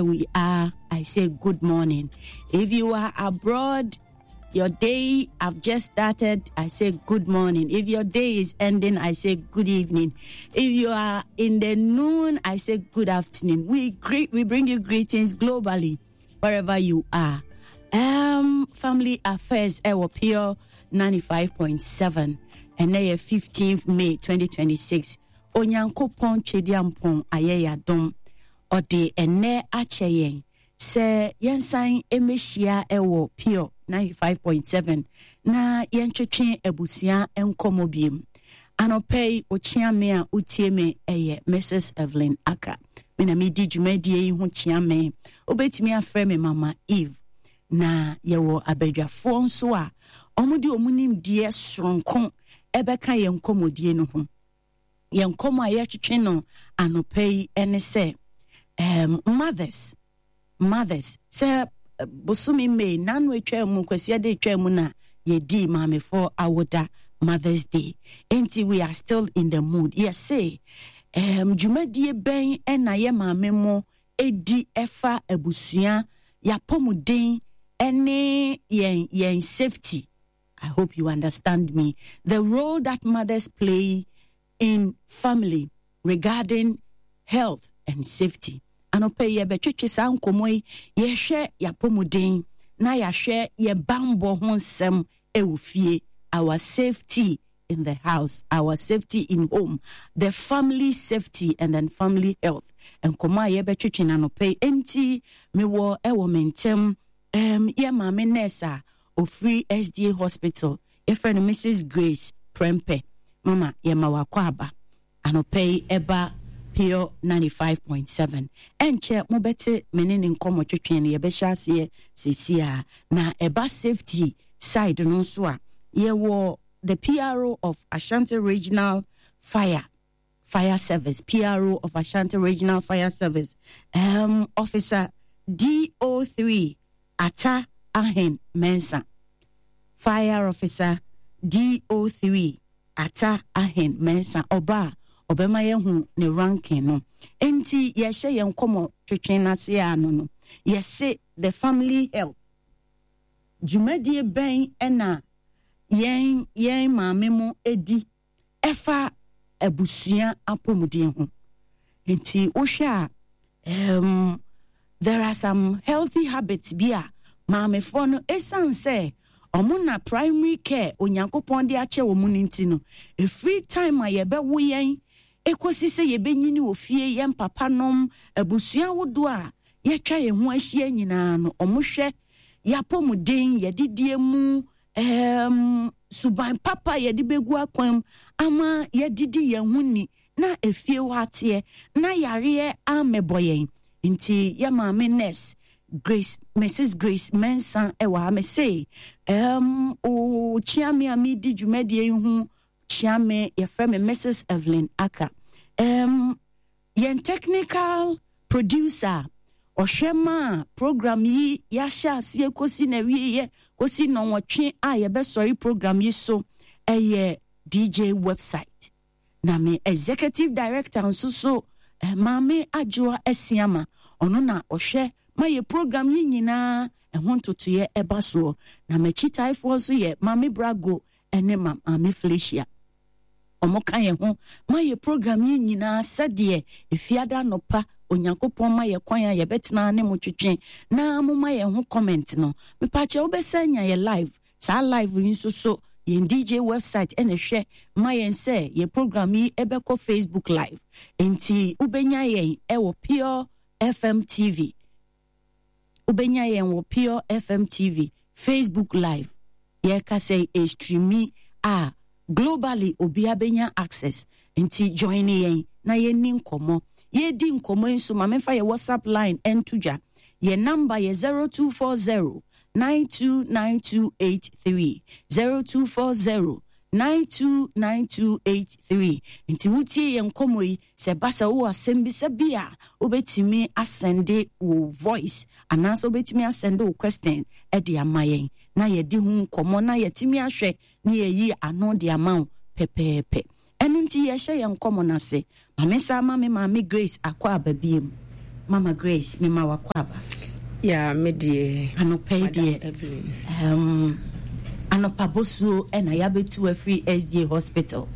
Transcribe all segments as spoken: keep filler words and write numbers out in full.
We are, I say good morning. If you are abroad, your day I've just started, I say good morning. If your day is ending, I say good evening. If you are in the noon, I say good afternoon. We greet, we bring you greetings globally, wherever you are. Um, Family Affairs, ɛwɔ Pure ninety-five point seven, and then fifteenth May twenty twenty-six. Onyankopɔn Twediampɔn ayɛ yɛadom, ɔde ɛnɛ akyɛ yɛn sɛ yɛnsan mmɛhyia ɛwɔ Pure ninety-five point seven na yɛntwetwe abusua nkɔmmɔ biem. Anɔpɛ yi, okyea me a wotie me ɛyɛ Missus Evelyn Aka. Me na medi dwumadie yi ho kyea me. Wobɛtumi afrɛ me Mama Eve. Na yɛwɔ abadwafoɔ nso a ɔmode ɔmo nimdeɛ soronko ɛbɛka yɛn nkɔmmɔdie no ho. Yɛn nkɔmmɔ a yɛtwetwe no anɔpɛ yi ne sɛ um, mothers mothers sɛ eh, bosome May nano atwa mu, Kwasiada atwa mu na yɛdii maamefoɔ awoda, Mother's Day, nti we are still in the mood. Yɛse um, dwumadie bɛn ɛna yɛ maame mo ɛdi ɛfa abusua yɛapɔmuden ɛne yɛn yɛn safety? I hope you understand me. The role that mothers play in family regarding health and safety. Anɔpɛ yi yɛbɛtwetwe saa nkɔmmɔ yi. Yɛhwɛ yɛapɔmuden na yɛahwɛ yɛ bambɔ ho nsɛm ɛwɔ fie, our safety in the house, our safety in home, the family safety and then family health. Nkɔmmɔ a yɛbɛtwetwe no anɔpɛ yi, enti mewɔ ɛwɔ me ntɛm um, yɛ maame nurse a ofiri S D A Hospital, yɛfrɛ no Missus Grace Prempeh. Mama, yɛma wakɔ aba anɔpɛ yi ɛba Pure ninety-five point seven. Ɛnkyɛ mobɛte me ne ne nkɔmmɔ twetwe no, yɛbɛhyɛ aseɛ seesi a. Na ɛba safety side no nso a, yɛwɔ the P R O of Ashanti Regional Fire Fire Service, P R O of Ashanti Regional Fire Service, um, Officer D O three Ata Ahen Mensa. Fire Officer D O three Ata Ahen Mensa, ɔba a ɔbɛma yɛhu ne ranking no. Nti yɛhyɛ yɛn nkɔmmɔ twetwe n'ase ano no, yɛse the family health, dwumadie bɛn ɛna yɛn yɛn maame mo edi ɛfa abusua apɔmuden ho? Nti wohwɛ a, um, there are some healthy habits bi a maamefoɔ no, ɛsiane sɛ ɔmo na primary care Onyankopɔn de akyɛ wɔn no nti no, ɛfiri time a yɛbɛwo yɛn ɛkɔsi sɛ yɛbɛnyini wɔ fie, yɛn papa nom, abusua ahodoɔ a yɛtwa yɛn ho ahyia nyinaa no, ɔmo hwɛ yɛapɔmuden, yɛdidie mu, um, suban papa yɛde bɛgu akwan mu ama yɛdidi yɛn ho ni na efie hɔ ateɛ na yareɛ amɛbɔ yɛn. Nti yɛ maame nurse Grace, Missus Grace Mensa ɛwɔ ha. Me se um, o kyea me a medi dwumadie yi ho kyea me, yɛfrɛ me Missus Evelyn Aka. um, yɛn technical producer, ɔhwɛ ma a program yi yɛahyɛ aseɛ kɔsi na wieɛ kɔsi nnɔnwɔtwe a yɛbɛsɔre program yi so, ɛyɛ D J Website. Na me executive director nso so, eh, Maame Adwoa Asiama, ɔno na ɔhwɛ ma yɛ program yi nyinaa ɛho ntotoeɛ ɛba soɔ. Na m'akyitaefoɔ nso yɛ Maame Brago ɛne ma Maame Felicia. Ɔmo ka yɛn ho ma yɛ program yi nyinaa sɛdeɛ Efiada anɔpa Onyankopɔn ma yɛ kwan a yɛbɛtena ne mo twetwe na moma yɛn ho comment no. Mepakyɛ, wobɛsɛ nya yɛ live. Saa live yi nso so, yɛn D J Website ɛna hwɛ ma yɛn sɛ yɛ program yi ɛbɛkɔ Facebook Live, nti wobɛnya yɛn ɛwɔ Pure F M T V. Wobɛnya yɛn wɔ Pure F M T V Facebook Live. Yɛka sɛ ɛstreami a, globally obiara bɛnya access, nti join yɛn na yɛnni nkɔmmɔ. Yɛdi nkɔmmɔ yi nso, ma memfa yɛ WhatsApp line ɛnto dwa. Yɛ number yɛ zero two four zero nine two nine two eight three, zero two four zero nine two nine two eight three. Nti wotie yɛn nkɔmmɔ yi, sɛ ba sɛ wowɔ asɛm bi sɛ bi a, wobɛtumi asend wo voice anaasɛ wobɛtumi asend wo question de ama yɛn na yɛdi ho nkɔmmɔ na yɛtumi ahwɛ na yɛyi ano de ama wo pɛpɛɛpɛ. Ɛno nti yɛhyɛ yɛn nkɔmmɔ no ase. Maame sa ma me maame Grace akɔ aba biem. Mama Grace, mema wakɔ aba. Ya, me deɛ. Anɔpa yi deɛ, um, anɔpa bosuo ɛna yɛabɛtu afiri S D A Hospital.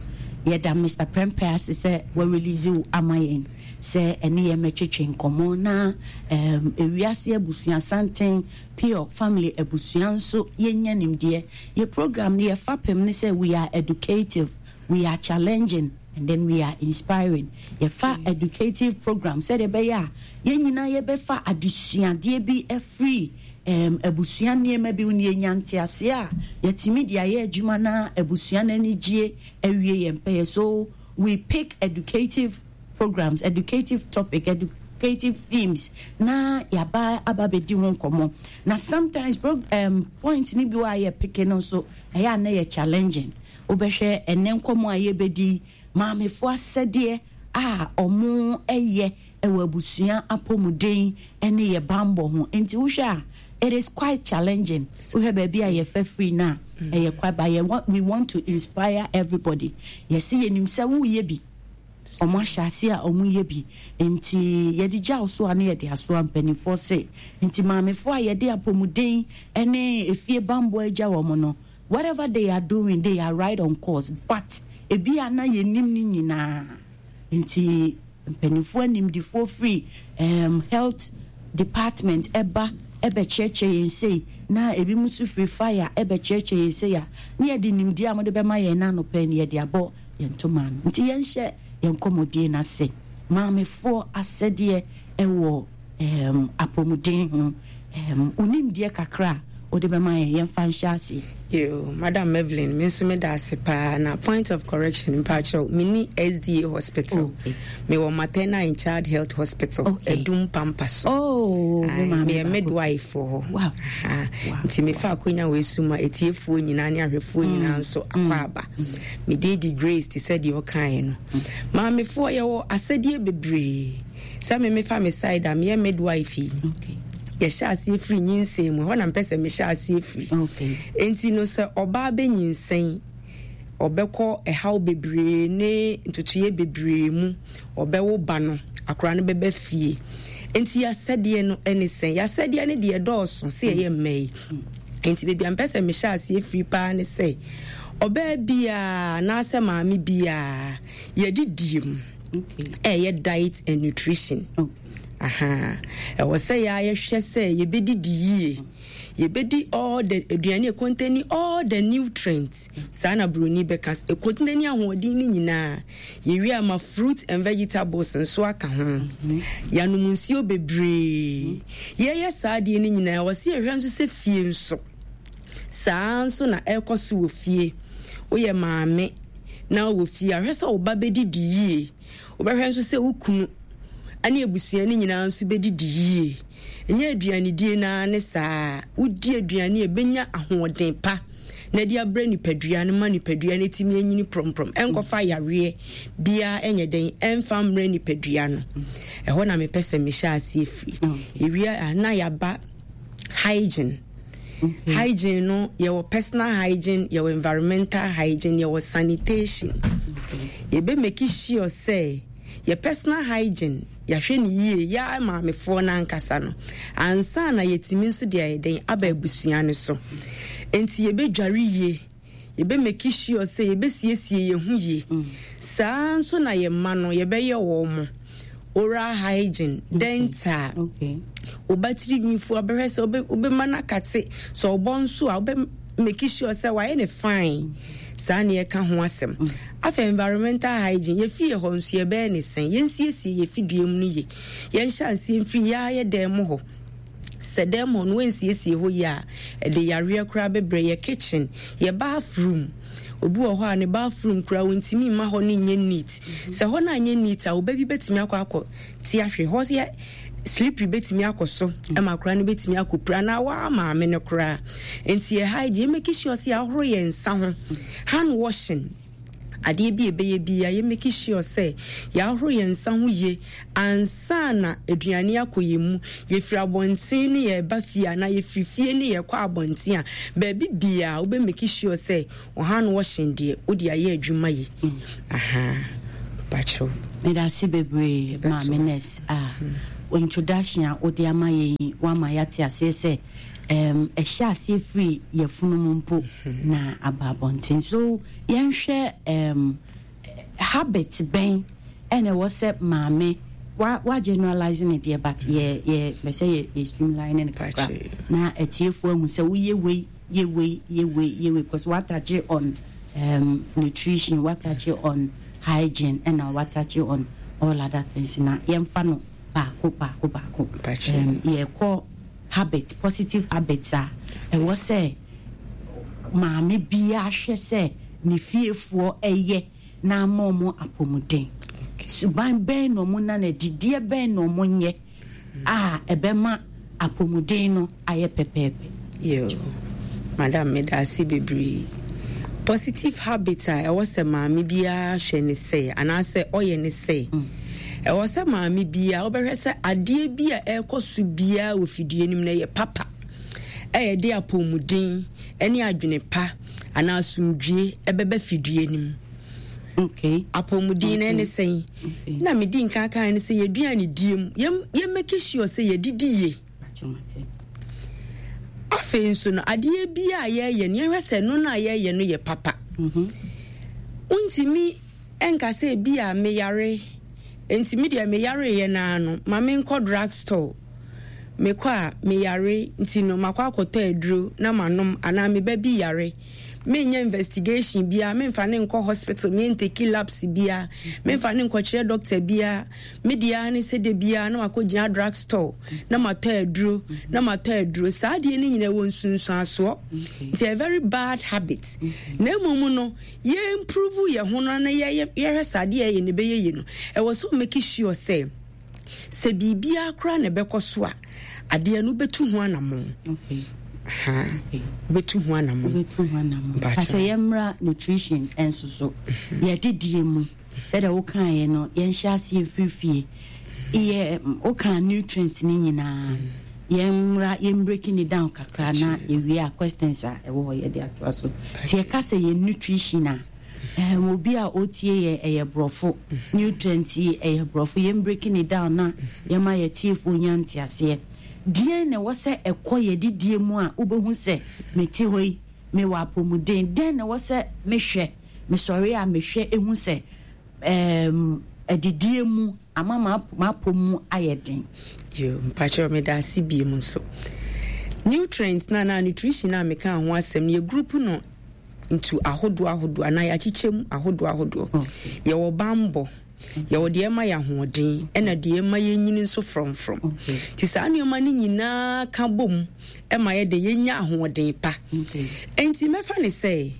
Yɛda Mister Prempeh ase sɛ wɔrelease wo ama yɛn sɛ ɛne yɛn mɛtwetwe nkɔmmɔ na um, ewiase abusua santen, Pure Family abusua nso yɛnya nimdeɛ. Yɛ program no, yɛfa pem ne sɛ we are educative, we are challenging and then we are inspiring. Yɛfa educative program sɛdeɛ ɛbɛyɛ a yɛn nyinaa yɛbɛfa adesuadeɛ bi afiri um, abusua nneɛma bi ne yɛnya nteaseɛ a yɛtumi de ayɛ adwuma na abusua no ani gye awie yɛn pɛyɛ. So we pick educative programs, educative topic, educative themes na yaba aba bɛdi ho nkɔmmɔ. Na sometimes pro, um, point ni bi wɔ a yɛ pick no nso ɛyɛ a na yɛ challenging. Wobɛhwɛ ɛnɛ nkɔmmɔ a yɛbɛdi, maamefoɔ asɛdeɛ a ɔmo ɛyɛ ɛwɔ abusua apɔmuden ɛne yɛ bambɔ ho. Nti wohwɛ a, it is quite challenging. Wohwɛ baabi a yɛfɛ firi no a, ɛyɛ quite, but yɛ, we want to inspire everybody. Yɛsi yɛnim sɛ woyɛ bi, ɔmo ahyɛ ase a ɔmo yɛ bi, nti yɛde gya so a ne yɛde asoa mpanimfoɔ se. Nti maamefoɔ a yɛde apɔmuden ɛne efie bambɔ agya wɔn no, whatever they are doing, they are right on course, but ebi a na yɛnim ne nyinaa. Nti mpanimfoɔ animdifoɔ firi um, health department ɛba ɛbɛkyerɛkyerɛ yɛn sei, na ebi mu nso firi fire ɛbɛkyerɛkyerɛ yɛn sei a, ne yɛde nimdeɛ a wɔde bɛma yɛn n'anɔpɛ ne yɛde abɔ yɛn ntoma no. Nti yɛnhyɛ yɛn nkɔmmɔdie n'ase. Maamefoɔ asɛdeɛ ɛwɔ um, apɔmuden ho, um, onimdeɛ kakra a wode bɛma yɛn, yɛmfa nhyɛ aseɛ. Yo, Madam Evelyn, me nso meda ase paa. Na point of correction, mpakyɛw, menni S D A Hospital. Okay. Mewɔ Maternal and Child Health Hospital, Okay. Adum Pampa so. Oh, me Aye, maame meyɛ baako. midwife wɔ hɔ. Wow. Aha. Wow. Nti mefa akonya wei so ma etiefoɔ nyinaa ne ahwɛfoɔ nyinaa nso akɔ aba. Mede di Grace te sɛ deɛ ɔkaeɛ no. Maamefoɔ, yɛwɔ asɛdeɛ bebree. Sɛ me mefa me side a meyɛ midwife yi, Okay. yɛhyɛ aseɛ firi nyinsɛn mu. Ɛhɔ na mpɛ sɛ mehyɛ aseɛ firi. Okay. Enti no, sɛ ɔbaa bɛnyinsɛn, ɔbɛkɔ ɛhaw bebree ne ntotoeɛ bebree mu. Ɔbɛwo ba no, akwaraa no bɛba fie. Nti yɛasɛdeɛ no ne sɛn? Yɛasɛdeɛ no deɛ dɔɔso sɛ yɛyɛ mma yi. Nti baabi a mpɛ sɛ mehyɛ aseɛ firi paa ne sɛ ɔbaa biaa anaasɛ maame biaa, yɛdidie mu, Okay. ɛyɛ diet and nutrition. Okay. Aha, ɛwɔ sɛ yɛa yɛhwɛ sɛ yɛbɛdidi yie, yɛbɛdi all the aduane ɛcontain all the nutrients. Saa na buroni bɛka, ɛcontain ahoɔden no nyinaa. Yɛwie ama fruit and vegetables nso aka ho, yɛanom nsuo bebree. Yɛyɛ saa adeɛ no nyinaa, ɛwɔ sɛ yɛhwɛ nso sɛ fie nso saa nso na ɛrekɔ so wɔ fie. Woyɛ maame na wɔ fie a, hwɛ sɛ wo ba bɛdidi yie. Wobɛhwɛ nso sɛ wo kunu ne abusua no nyinaa nso bɛdidi yie. Ɛnyɛ aduanedie naa ne saa. Wodi aduane a ɛbɛnya ahoɔden pa na de abrɛ nipadua no ma nipadua no tumi anyini prɔmprɔm, ɛnkɔfa yareɛ biara ɛnyɛ dɛn ɛmfa mmerɛ nipadua no. Ɛhɔ na mepɛ sɛ mehyɛ aseɛ firi. Yɛwie a, na yɛaba hygiene. Hygiene no, yɛwɔ personal hygiene, yɛwɔ environmental hygiene, yɛwɔ sanitation. Yɛbɛ make sure sɛ yɛ personal hygiene yɛahwɛ no yie, yɛa maamefoɔ no ankasa no, ansa na yɛtumi nso de ayɛ dɛn aba abusua no so. Nti yɛbɛdware yie, yɛbɛ make sure sɛ yɛbɛsiesie yɛn ho yie. Saa nso na yɛn mma no, yɛbɛyɛ wɔn mo oral hygiene, dental. Okay. Woba tiri nwifo, abɛhwɛ sɛ wobe- wobɛma no akate sɛ ɔbɔ nso a, wobɛ make sure sɛ wayɛ ne fine. Saa ne yɛka ho asɛm. Afei environmental hygiene, yɛfie hɔ nso yɛbɛyɛ ne sɛn? Yɛnsiesie yɛfidua mu no ye. Yɛnhyɛ aseɛ mfiri yɛa yɛ dan mu hɔ. Sɛ dan mu hɔ no wɔnsiesie hɔ yie a, ɛde yareɛ koraa bɛbrɛ yɛ. Kitchen, yɛ bathroom, obi wɔ hɔ a ne bathroom koraa wɔntumi mma hɔ no nyɛ neat. Sɛ hɔ no anyɛ neat a, ɔba bi bɛtumi akɔ akɔ te ahwɛ hɔ yɛ slippery, bɛtumi akɔ so ɛma akwaraa no bɛtumi akɔ pira anaa waa maame no koraa. Nti yɛ hygiene, make sure sɛ yɛahoro yɛn nsa ho, hand washing. Adeɛ bi a ɛbɛyɛ bia, yɛ make sure sɛ yɛahoro yɛn nsa ho yie ansa na aduane akɔ yɛn mu. Yɛfiri abɔnten ne yɛba fie anaa yɛfiri fie ne yɛkɔ abɔnten a, baabi biaa wobɛ make sure sɛ wo hand washing deɛ, wode ayɛ adwuma yi. Aha, pakyɛw. Meda ase bebree. Yɛbɛto maame ase. Nurse a Introduction a wode ama yɛn yi, woama yɛate aseɛ sɛ um, ɛhyɛ aseɛ firi yɛfunu mu mpo na aba abɔnten. So yɛnhwɛ um, habit bɛn ɛna ɛwɔ sɛ maame wa wa generalize ne deɛ, but yɛ yɛ bɛ sɛ yɛ yɛ streamline ne kakra na atiefoɔ ahu sɛ woyɛ wei, yɛ wei, yɛ wei, yɛ wei, because watouch on um, nutrition, watouch on hygiene, ɛna watouch on all other things, na yɛmfa no baako baako baako. um, yɛkɔ habit, positive habits a ɛwɔ sɛ maame biara hwɛ sɛ ne fiefoɔ ɛyɛ na ama ɔmo apɔmuden. Suban bɛn na ɔmo na didiɛ bɛn na ɔmo nyɛ a ɛbɛma apɔmuden no ayɛ pɛpɛɛpɛ? Yo, madam, meda ase bebree. Positive habit a ɛwɔ sɛ maame biara hwɛ ne sɛ anaasɛ ɔyɛ ne sɛ, ɛwɔ sɛ maame biara wobɛhwɛ sɛ adeɛ bi a ɛrekɔ so biara wɔ fidua no mu no yɛ papa, ɛyɛ de apɔmuden ne adwene pa anaa asomdwie ɛbɛbɛ fidua no mu. Okay apɔmuden no ɛne sɛn? Na medi nka kan ne sɛ yɛduane die mu, yɛm make sure sɛ yɛdidi yie. Afei nso no, adeɛ bi a yɛyɛ no, yɛhwɛ sɛ no no a yɛyɛ no yɛ papa. Wontumi ɛnka sɛ bi a meyare nti me deɛ meyareyɛ naa no ma menkɔ drug store, mekɔ a meyare nti no makɔ akɔtɔ aduro na manom, anaa meba bi yare, menyɛ investigation biara, memfa ne nkɔ hospital, mentake labs biara, memfa ne nkɔkyerɛ doctor biara, me deɛ ne sɛ de biara na wakɔgyina drug store na matɔ aduro na matɔ aduro. Saa adeɛ no nyinaa wɔ nsunsuansoɔ, nti a very bad habit. Na mmom no, yɛ improve yɛ ho no na yɛhwɛ sɛ adeɛ yɛ ne bɛyɛ yie no, ɛwɔ sɛ make sure sɛ sɛ biribiara koraa na ɛbɛkɔ so a, adeɛ no wobɛtu ho anammɔn, wobɛtu ho anammɔn. Wobɛtu ho anammɔn. Pakyɛ, yɛmmra nutrition nso so, yɛdedie mu, sɛdeɛ wokaeɛ no, yɛnhyɛ aseɛ mfiri fie. Yɛ woka nutrient no nyinaa, yɛmmra yɛn breaking it down kakra na yɛwie a, questions a ɛwɔ hɔ yɛde atoa so. Nti yɛka sɛ yɛ nutrition a, um, obi a ɔtie yɛ, ɛyɛ borɔfo, nutrient yi ɛyɛ borɔfo, yɛn breaking it down na yɛma yɛtiefoɔ nya nteaseɛ. Deɛn na ɛwɔ sɛ ɛkɔ yɛdidie mu a wobɛhu sɛ mete hɔ yi mewɔ apɔmuden? Dɛn na ɛwɔ sɛ mehwɛ, mesɔre a mehwɛ ehu sɛ um, adidie mu ama m'apɔ mu ayɛ den? Yo, mpakyerɛ, meda ase bie mu nso. Nutrients na na nutrition a meka ho asɛm no, yɛ group no ntu ahodoɔ ahodoɔ anaa yɛakyekyɛ mu ahodoɔ ahodoɔ. Yɛwɔ bambɔ, yɛwɔ deɛ ɛma yɛ ahoɔden, ɛna deɛ ɛma yɛnyini nso frɔmfrɔm. Nti saa nneɛma no nyinaa ka bom ɛma yɛde yɛnya ahoɔden pa. Nti mɛfa ne sɛ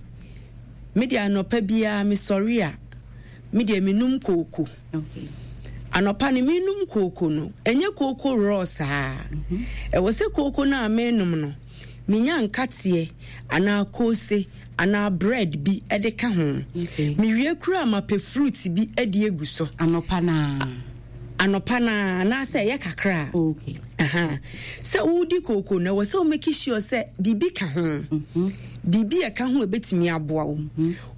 mede anɔpa biara mesɔre a, medeɛ menum kooko. Anɔpa no menum kooko no, ɛnyɛ kooko raw saa. Ɛwɔ sɛ kooko no a menum no, menya nkateɛ anaa koose anaa bread bi de ka ho. Mewie kura a, mapɛ fruit bi de egu so. Anɔpa naa? Anɔpa naa, anaasɛ ɛyɛ kakra a sɛ wodi kooko no, ɛwɔ sɛ wo make sure sɛ biribi ka ho, biribi a ɛka ho ɛbɛtumi aboa wo.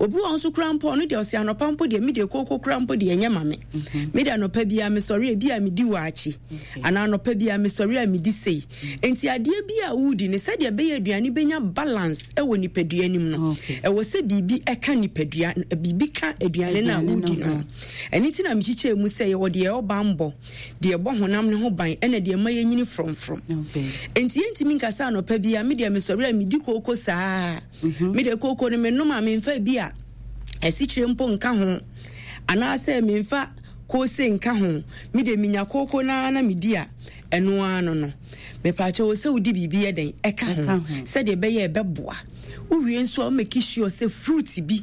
Obi wɔ nso kora mpo, ɔno deɛ ɔsɛ anɔpa mpo deɛ, medeɛ kooko kora mpo deɛ ɛnyɛ ma me. Mede anɔpa biara mesɔre a, bi a medi waakye, anaa anɔpa biara mesɔre a medi sei. Nti adeɛ bi a wodi ne sɛdeɛ ɛbɛyɛ aduane bɛnya balance ɛwɔ nipadua nim no, ɛwɔ sɛ biribi ɛka nipadua, biribi ka aduane no a wodi no. Ɛno nti na mekyekyɛ mu sɛ yɛwɔ deɛ ɛwɔ bambɔ, deɛ ɛbɔ honam ne ho ban, ɛna deɛ ɛma yɛnyini frɔmfrɔm. Nti yɛntumi nka sɛ anɔpa biara medeɛ mesɔre a medi kooko saa, medeɛ kooko no menom a memfa bi a asikyire mpo nka ho anaasɛ memfa koose nka ho, medeɛ menya kooko naa na medi a, ɛno ara no no mepaakyɛ wɔ sɛ wodi biribi yɛ dɛn ɛka ho sɛdeɛ ɛbɛyɛ ɛbɛboa. Wowie nso a, womake sure sɛ fruit bi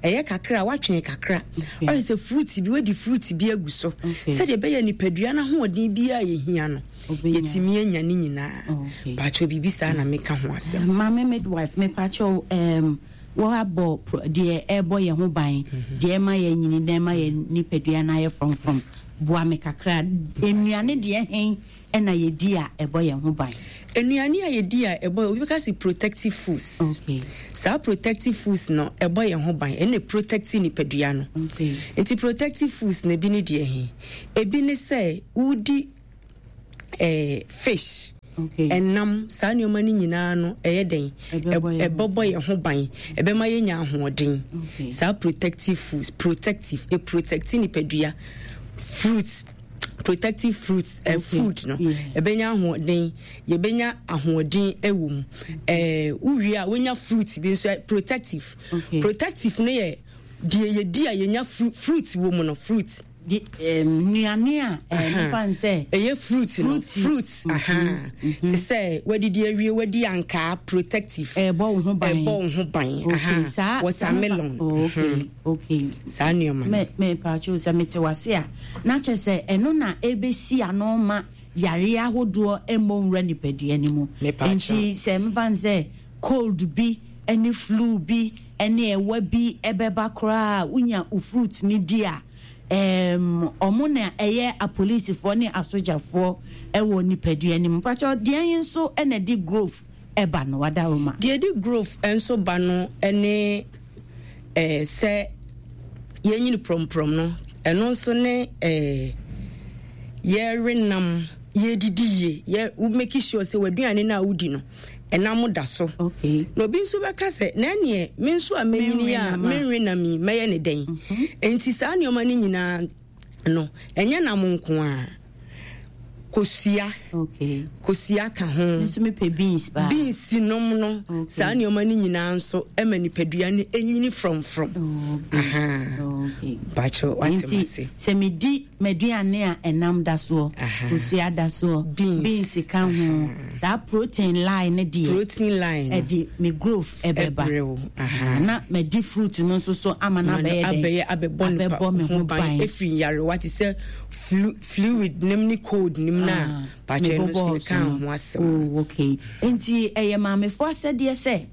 ɛyɛ kakra a watwɛn kakra, ɔyɛ sɛ fruit bi, wadi fruit bi agu so sɛdeɛ ɛbɛyɛ nipadua no ahoɔden biara yɛhia no, yɛtumi anya ne nyinaa. Paakyɛ, biribi saa na meka ho asɛm. Maame midwife, mepaakyɛw, um, wɔabɔ deɛ ɛbɔ yɛn ho ban, deɛ ɛma yɛn nyini na ɛma yɛn nipadua no ayɛ frɔmfrɔm. Boa me kakra, nnuane deɛ hen ɛna yɛdi a ɛbɔ yɛn ho ban? Nnuane a yɛdi a ɛbɔ, obi bɛka sɛ protective foods. Okay. Saa protective foods no ɛbɔ yɛn ho ban, ɛna protect nipadua no. Okay. Nti protective foods na ebi ne deɛ he? Ebi ne sɛ wodi eh, fish, ɛnam, saa nneɛma no nyinaa no ɛyɛ den, ɛbɛbɔ yɛn ho ban, ɛbɛma yɛnya ahoɔden. Saa protective foods, protective, e protect nipadua, fruits, protective fruits, uh, food no ɛbɛnya ahoɔden, yɛbɛnya ahoɔden ɛwɔ mu. Ɛɛ wowie a, wonya fruit bi nso protective. Protective no yɛ deɛ yɛdi a yɛnya fruit wɔ mu no, fruit. Nnuane a nipa nsɛ. Ɛyɛ fruit no, fruit te sɛ wadidi awie, wadi ankaa, protective. Ɛbɔ wo ho ban. Ɛbɔ wo ho ban. Watermelon. okay okay Saa nneɛma no. Mɛ mɛ paatwo, sɛ mete wase a, na kyerɛ sɛ ɛno na ɛbɛsi ano ma yare ahodoɔ mmɔ nwura nipadua no mu. Nti sɛ mfa n sɛ cold bi ne flu bi ne ɛwa bi ɛbɛba koraa, wonya wo fruit no di a, um, ɔmo na ɛyɛ apolisifoɔ ne asogyafoɔ ɛwɔ nipadua no mu. Mpakyɛ, deɛ yi nso ɛna di growth ɛba no, wadaroma? Deɛ di growth nso ba no ne ɛɛ sɛ yɛnyini prɔmprɔm no, ɛno nso ne ɛɛ yɛre nam, yɛdidi yie, yɛ wo make sure sɛ w'aduane no a wodi no, ɛnam da so. Okay. Na obi nso bɛka sɛ, na ɛneɛ me nso a mɛnyini a menwe nam yi, mɛyɛ ne dɛn? Nti saa nneɛma no nyinaa no, ɛnyɛ nam nko a, kosua, okay. Kosua ka ho. Nso mepɛ beans paa. Beans nom no. Okay. Saa nneɛma no nyinaa nso ɛma nipadua no ɛnyini frɔmfrɔm. Okay. Bakyɛ, wate ma se? Sɛ medi m'aduane a ɛnam da soɔ, kosua da soɔ, beans, beans ka ho, saa protein line no deɛ, protein line no ɛde me growth ɛbɛba. Ɛbrɛw. Na madi fruit no nso so ama no abɛyɛ dɛn? Abɛyɛ abɛbɔ nipa abɛbɔ me ho ban ɛfiri nyarewa te sɛ flu, fluid nim ne cold nim na bakyɛ no so ka ho asɛm. Oh, okay. Nti ɛyɛ maamefoɔ asɛdeɛ sɛ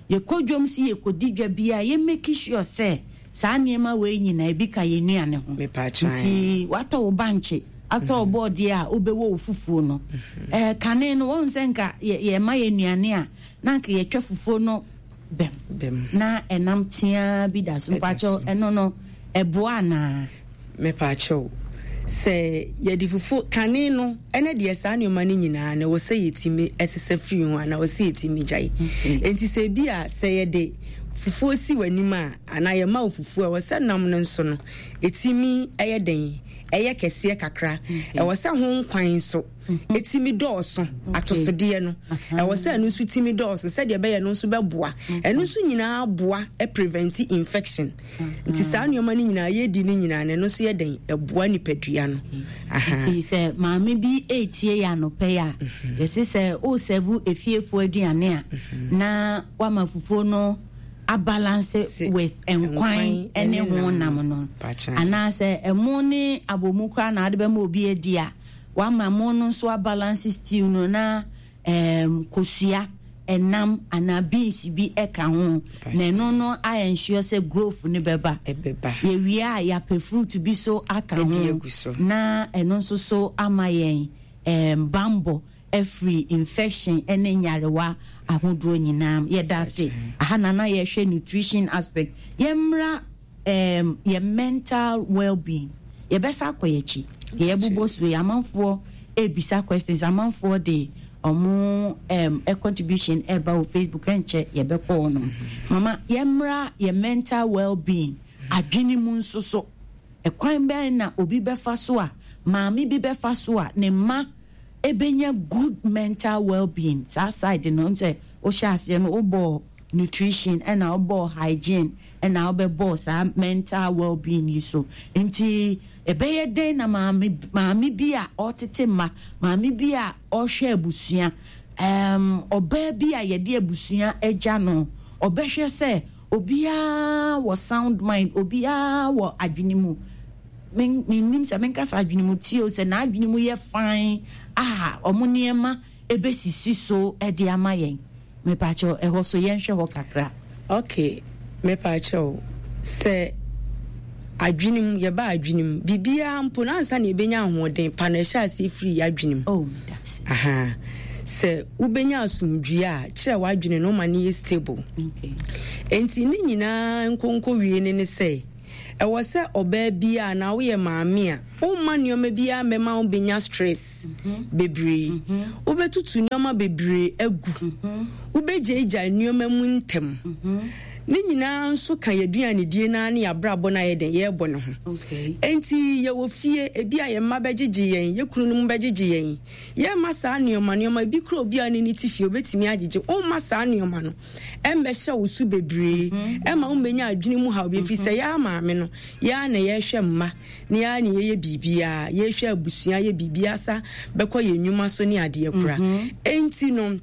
yɛkɔ dwom si, yɛkɔdi dwa bi a, yɛ make sure sɛ saa nneɛma wei nyinaa ebi ka yɛn nnuane ho. Nti watɔ wo bankye, atɔ wo bɔɔdeɛ a wobɛwɔ wo fufuo no, ɛɛ kane no wɔn sɛ nka yɛma yɛ nnuane a, na nka yɛtwa fufuo no bɛm na ɛnam teaa bi da so. Mpakyɛw, ɛno no ɛboa anaa? Mepaakyɛw, sɛ yɛde fufuo kane no, ɛnɛ deɛ saa nneɛma no nyinaa na ɛwɔ sɛ yɛtumi ɛsesa firi ho anaa ɛwɔ sɛ yɛtumi gyae. Nti sɛ bi a sɛ yɛde fufuo si w'anim a, anaa yɛma wo fufuo a, ɛwɔ sɛ nam no nso no ɛtumi ɛyɛ den, ɛyɛ kɛseɛ kakra. Ɛwɔ sɛ ho nkwan nso ɛtumi dɔɔso, atosodeɛ no ɛwɔ sɛ ɛno nso tumi dɔɔso, sɛdeɛ ɛbɛyɛ no nso bɛboa. Ɛno nso nyinaa boa prevent infection. Nti saa nneɛma no nyinaa yɛdi no nyinaa no, ɛno nso yɛ den, ɛboa nipadua no. Nti sɛ maame bi etie yɛ anɔpɛ yi a, yɛsi sɛ o serve efiefoɔ aduane a, na wama fufuo no abalance with nkwan ne ho nam no, anaasɛ ɛmo ne abomu koraa na ade bɛma obi adi a, wama mo no nso abalance stew no na um, kosua, ɛnam anaa beans bi ɛka ho, na ɛno no ayɛ ensure sɛ growth no bɛba. Yɛwie a, yɛapɛ fruit bi so aka ho na ɛno nso so ama yɛn um, bambɔ afiri infection ne nyarewa ahodoɔ nyinaa. Yɛda ase. Aha na na yɛhwɛ nutrition aspect. Yɛmmra um, yɛ mental well-being. Yɛbɛsa akɔ yɛkyi, deɛ yɛbobɔ so yi, amanfoɔ ebisa questions, amanfoɔ de ɔmo um, contribution ɛba wɔ Facebook. Ɛnkyɛ yɛbɛkɔ hɔ nom. Mama, yɛmmra yɛ mental well-being, adwene mu nso so. Ɛkwan bɛn na obi bɛfa so a, maame bi bɛfa so a, ne mma ebenya good mental well-being? Saa side no sɛ wohyɛ aseɛ no, wobɔ nutrition ɛna wobɔ hygiene ɛna wobɛbɔ saa mental well-being yi so. Nti ɛbɛyɛ dɛn na maame maame bi a ɔtete mma, maame bi a ɔhwɛ abusua, um, ɔbaa bi a yɛde abusua agya no, ɔbɛhwɛ sɛ obiara wɔ sound mind, obiara wɔ adwene mu, mennim sɛ menkasa adwene mu tie o, sɛ n'adwene mu yɛ fine a, ɔmo nneɛma ɛbɛsisi so ɛde ama yɛn? Mepakyɛw, ɛhɔ so yɛnhwɛ hɔ kakra. Okay, mepakyɛw, sɛ adwene mu, yɛba adwene mu, biribiara mpo na ansa na yɛbɛnya ahoɔden pa no, ɛhyɛ aseɛ firi yɛ adwene mu. Oh, that's Aha. Sɛ wobɛnya asomdwie a, kyerɛ w'adwene no ma no yɛ stable. Okay. Enti ne nyinaa nkonko wie ne ne sɛ Ɛwɔ sɛ ɔbaa biara na woyɛ maame a, womma nneɛma biara mmɛma wo bɛnya stress bebree. Wobɛtutu nneɛma bebree agu. Wobɛgyaegyae nneɛma mu ntɛm. Ne nyinaa nso ka yɛaduanedie naa ne yɛabrabɔ no ayɛ den yɛrebɔ ne ho. Enti yɛwɔ fie, ebi a yɛn mma bɛgyegye yɛn, yɛ kunu no mu bɛgyegye yɛn. Yɛmma saa nneɛma nneɛma ebi kura obi a ne ne ti fie obetumi agyegye. Womma saa nneɛma no ɛmmɛhyɛ wo so bebree, ɛma wommɛnya adwene mu haw bi, ɛfiri sɛ yɛa maame no, yɛa na yɛhwɛ mma, na yɛa na yɛyɛ biribiara, yɛhwɛ abusua, yɛ biribiara sa bɛkɔ yɛn nnwuma so ne adeɛ kora. Enti no,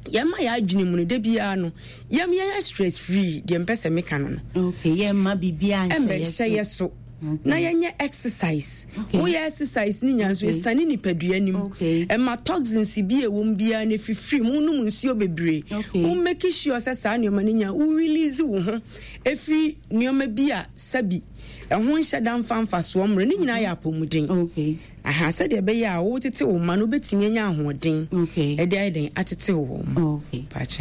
yɛma yɛ adwene mu no, da biara no, yɛm yɛyɛ stress free, deɛ mpɛ sɛ meka no no. Okay, yɛmma biribiara nhyɛ yɛ so. Na yɛnyɛ exercise. Woyɛ exercise ne nya nso ɛsane nipadua nim. Ɛma toxins bi a ɛwɔ mu biara no ɛfifiri mu. Wonom nsuo bebree. Wo make sure sɛ saa nneɛma no nya wo release wo ho ɛfiri nneɛma bi a sɛbi ɛho nhyɛ da mfa mfasoɔ mmerɛ ne nyinaa yɛ apɔmuden. Aha, sɛdeɛ ɛbɛyɛ a wotete wo mma no wobɛtumi anya ahoɔden ɛde ayɛ dɛn atete wo mma.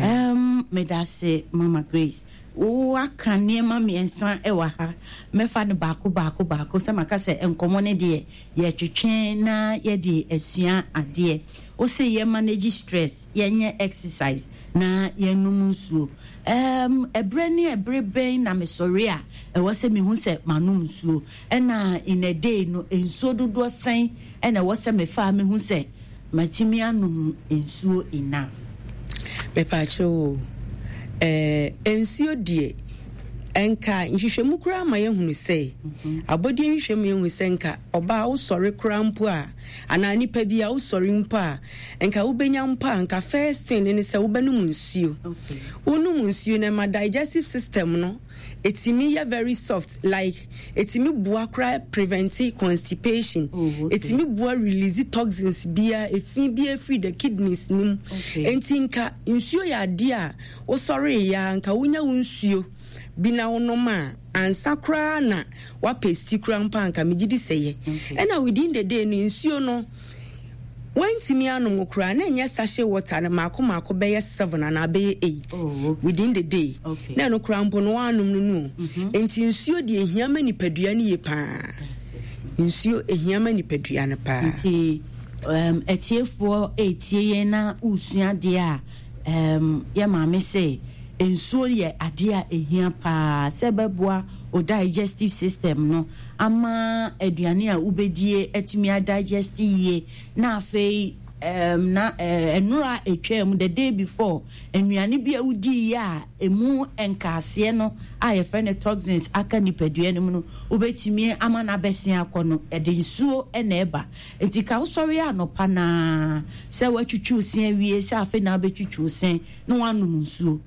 Um, medase Mama Grace. Waka nneɛma mmiɛnsa wɔ ha. Mɛfa no baako baako baako sɛ maka sɛ nkɔmmɔ no deɛ yɛtwetwe na yɛde asua adeɛ. Wo sɛ yɛ manage stress, yɛnyɛ exercise na yɛnom nsuo. Um, ɛberɛ ne ɛberɛ bɛn na mesɔre a ɛwɔ sɛ mehu sɛ manom nsuo? Ɛna in a day no nsuo dodoɔ sɛn ɛna ɛwɔ sɛ mefa a mehu sɛ matumi anom nsuo enough? Mepaakyɛw o, eh, nsuo deɛ, nka nhwehwɛmu koraa ma yɛhunu sɛ, abɔdeɛ nhwehwɛmu yɛhunu sɛ nka ɔbaa wosɔre koraa mpo a, anaa nipa bi a wosɔre mpo a, nka wobɛnya mpo a, nka first thing ne sɛ wobɛnom nsuo. Wonom nsuo no ɛma digestive system no ɛtumi yɛ very soft, like ɛtumi boa koraa prevent constipation. Oh, okay. Ɛtumi boa release toxins bia, efi bi efiri the kidneys nim. Okay. Enti nka nsuo yɛ adeɛ a wosɔre ya nka wonya wo nsuo bi na wonom a ansa koraa na wapɛ si koraa mpo anka megye di sɛ yɛ. Okay. Ɛna within the day no nsuo no wantumi anom koraa na ɛnyɛ sachet water no maako maako bɛyɛ seven anaa bɛyɛ eight. Oh, okay. Within the day. Okay. Na ɛno koraa mpo no wanom no no. Enti nsuo deɛ ehia ma nipadua no yie paa. Nsuo ehia ma nipadua no paa. Nti um, atiefoɔ etie yɛn na wosua adeɛ a um, yɛ maame sɛ nsuo yɛ adeɛ a ehia paa sɛ ɛbɛboa o digestive system no ama aduane a wobɛdie atumi adigest yie, na afei um, na ɛnora uh, etwa mu the day before nnuane bi a wodii yɛ a emu nkaaseɛ no a yɛfrɛ no toxins aka nipadua no mu no, wobɛtumi ama no abɛsen akɔ no, ɛde nsuo na ɛba. Nti ka wosɔre anɔpa naa sɛ woatwitwi wo se awie, sɛ afei na wobɛtwitwi wo se na woanom nsuo,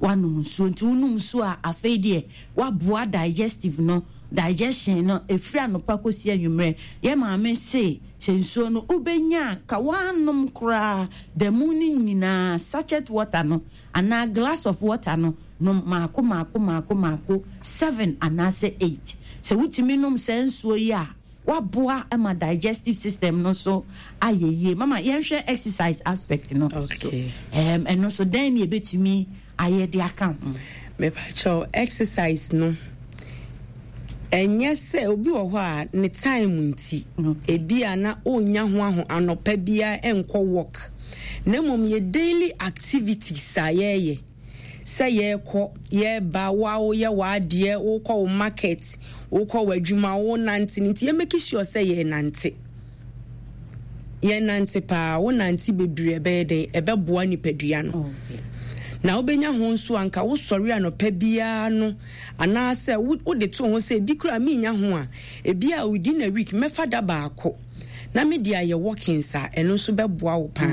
woanom nsuo. Nti wonom nsuo a, afei deɛ woaboa digestive no, digestion no ɛfiri anɔpa kɔsi anwummerɛ. Yɛ maame se sɛ nsuo no wobɛnya ka woanom koraa da mu no nyinaa, sachet water no anaa glass of water no, nom maako maako maako maako seven anaasɛ eight. Sɛ wotumi nom saa nsuo yi a, waboa ma digestive system no so ayɛ yie. Mama, yɛnhwɛ exercise aspect no. Okay. Um, ɛno nso dɛn ne yɛbɛtumi ayɛ de aka ho? Mepakyɛw, exercise no ɛnyɛ sɛ obi wɔ hɔ a ne time nti ebi a na ɔnya ho aho anɔpa biara ɛnkɔ work, na mmom yɛ daily activities a yɛyɛ sɛ yɛrekɔ yɛreba, wo a woyɛ w'adeɛ, wokɔ wo market, wokɔ w'adwuma, wonante no nti yɛ make sure sɛ yɛnante, yɛnante paa. Wonante bebree ɛbɛyɛ dɛn, ɛbɛboa nipadua no. Na wobɛnya ho nso anka wosɔre anɔpa biara no, anaasɛ wode to ho sɛ ebi koraa menya ho a, ebi a within a week mɛfa da baako na mede ayɛ walkings a, ɛno nso bɛboa wo paa.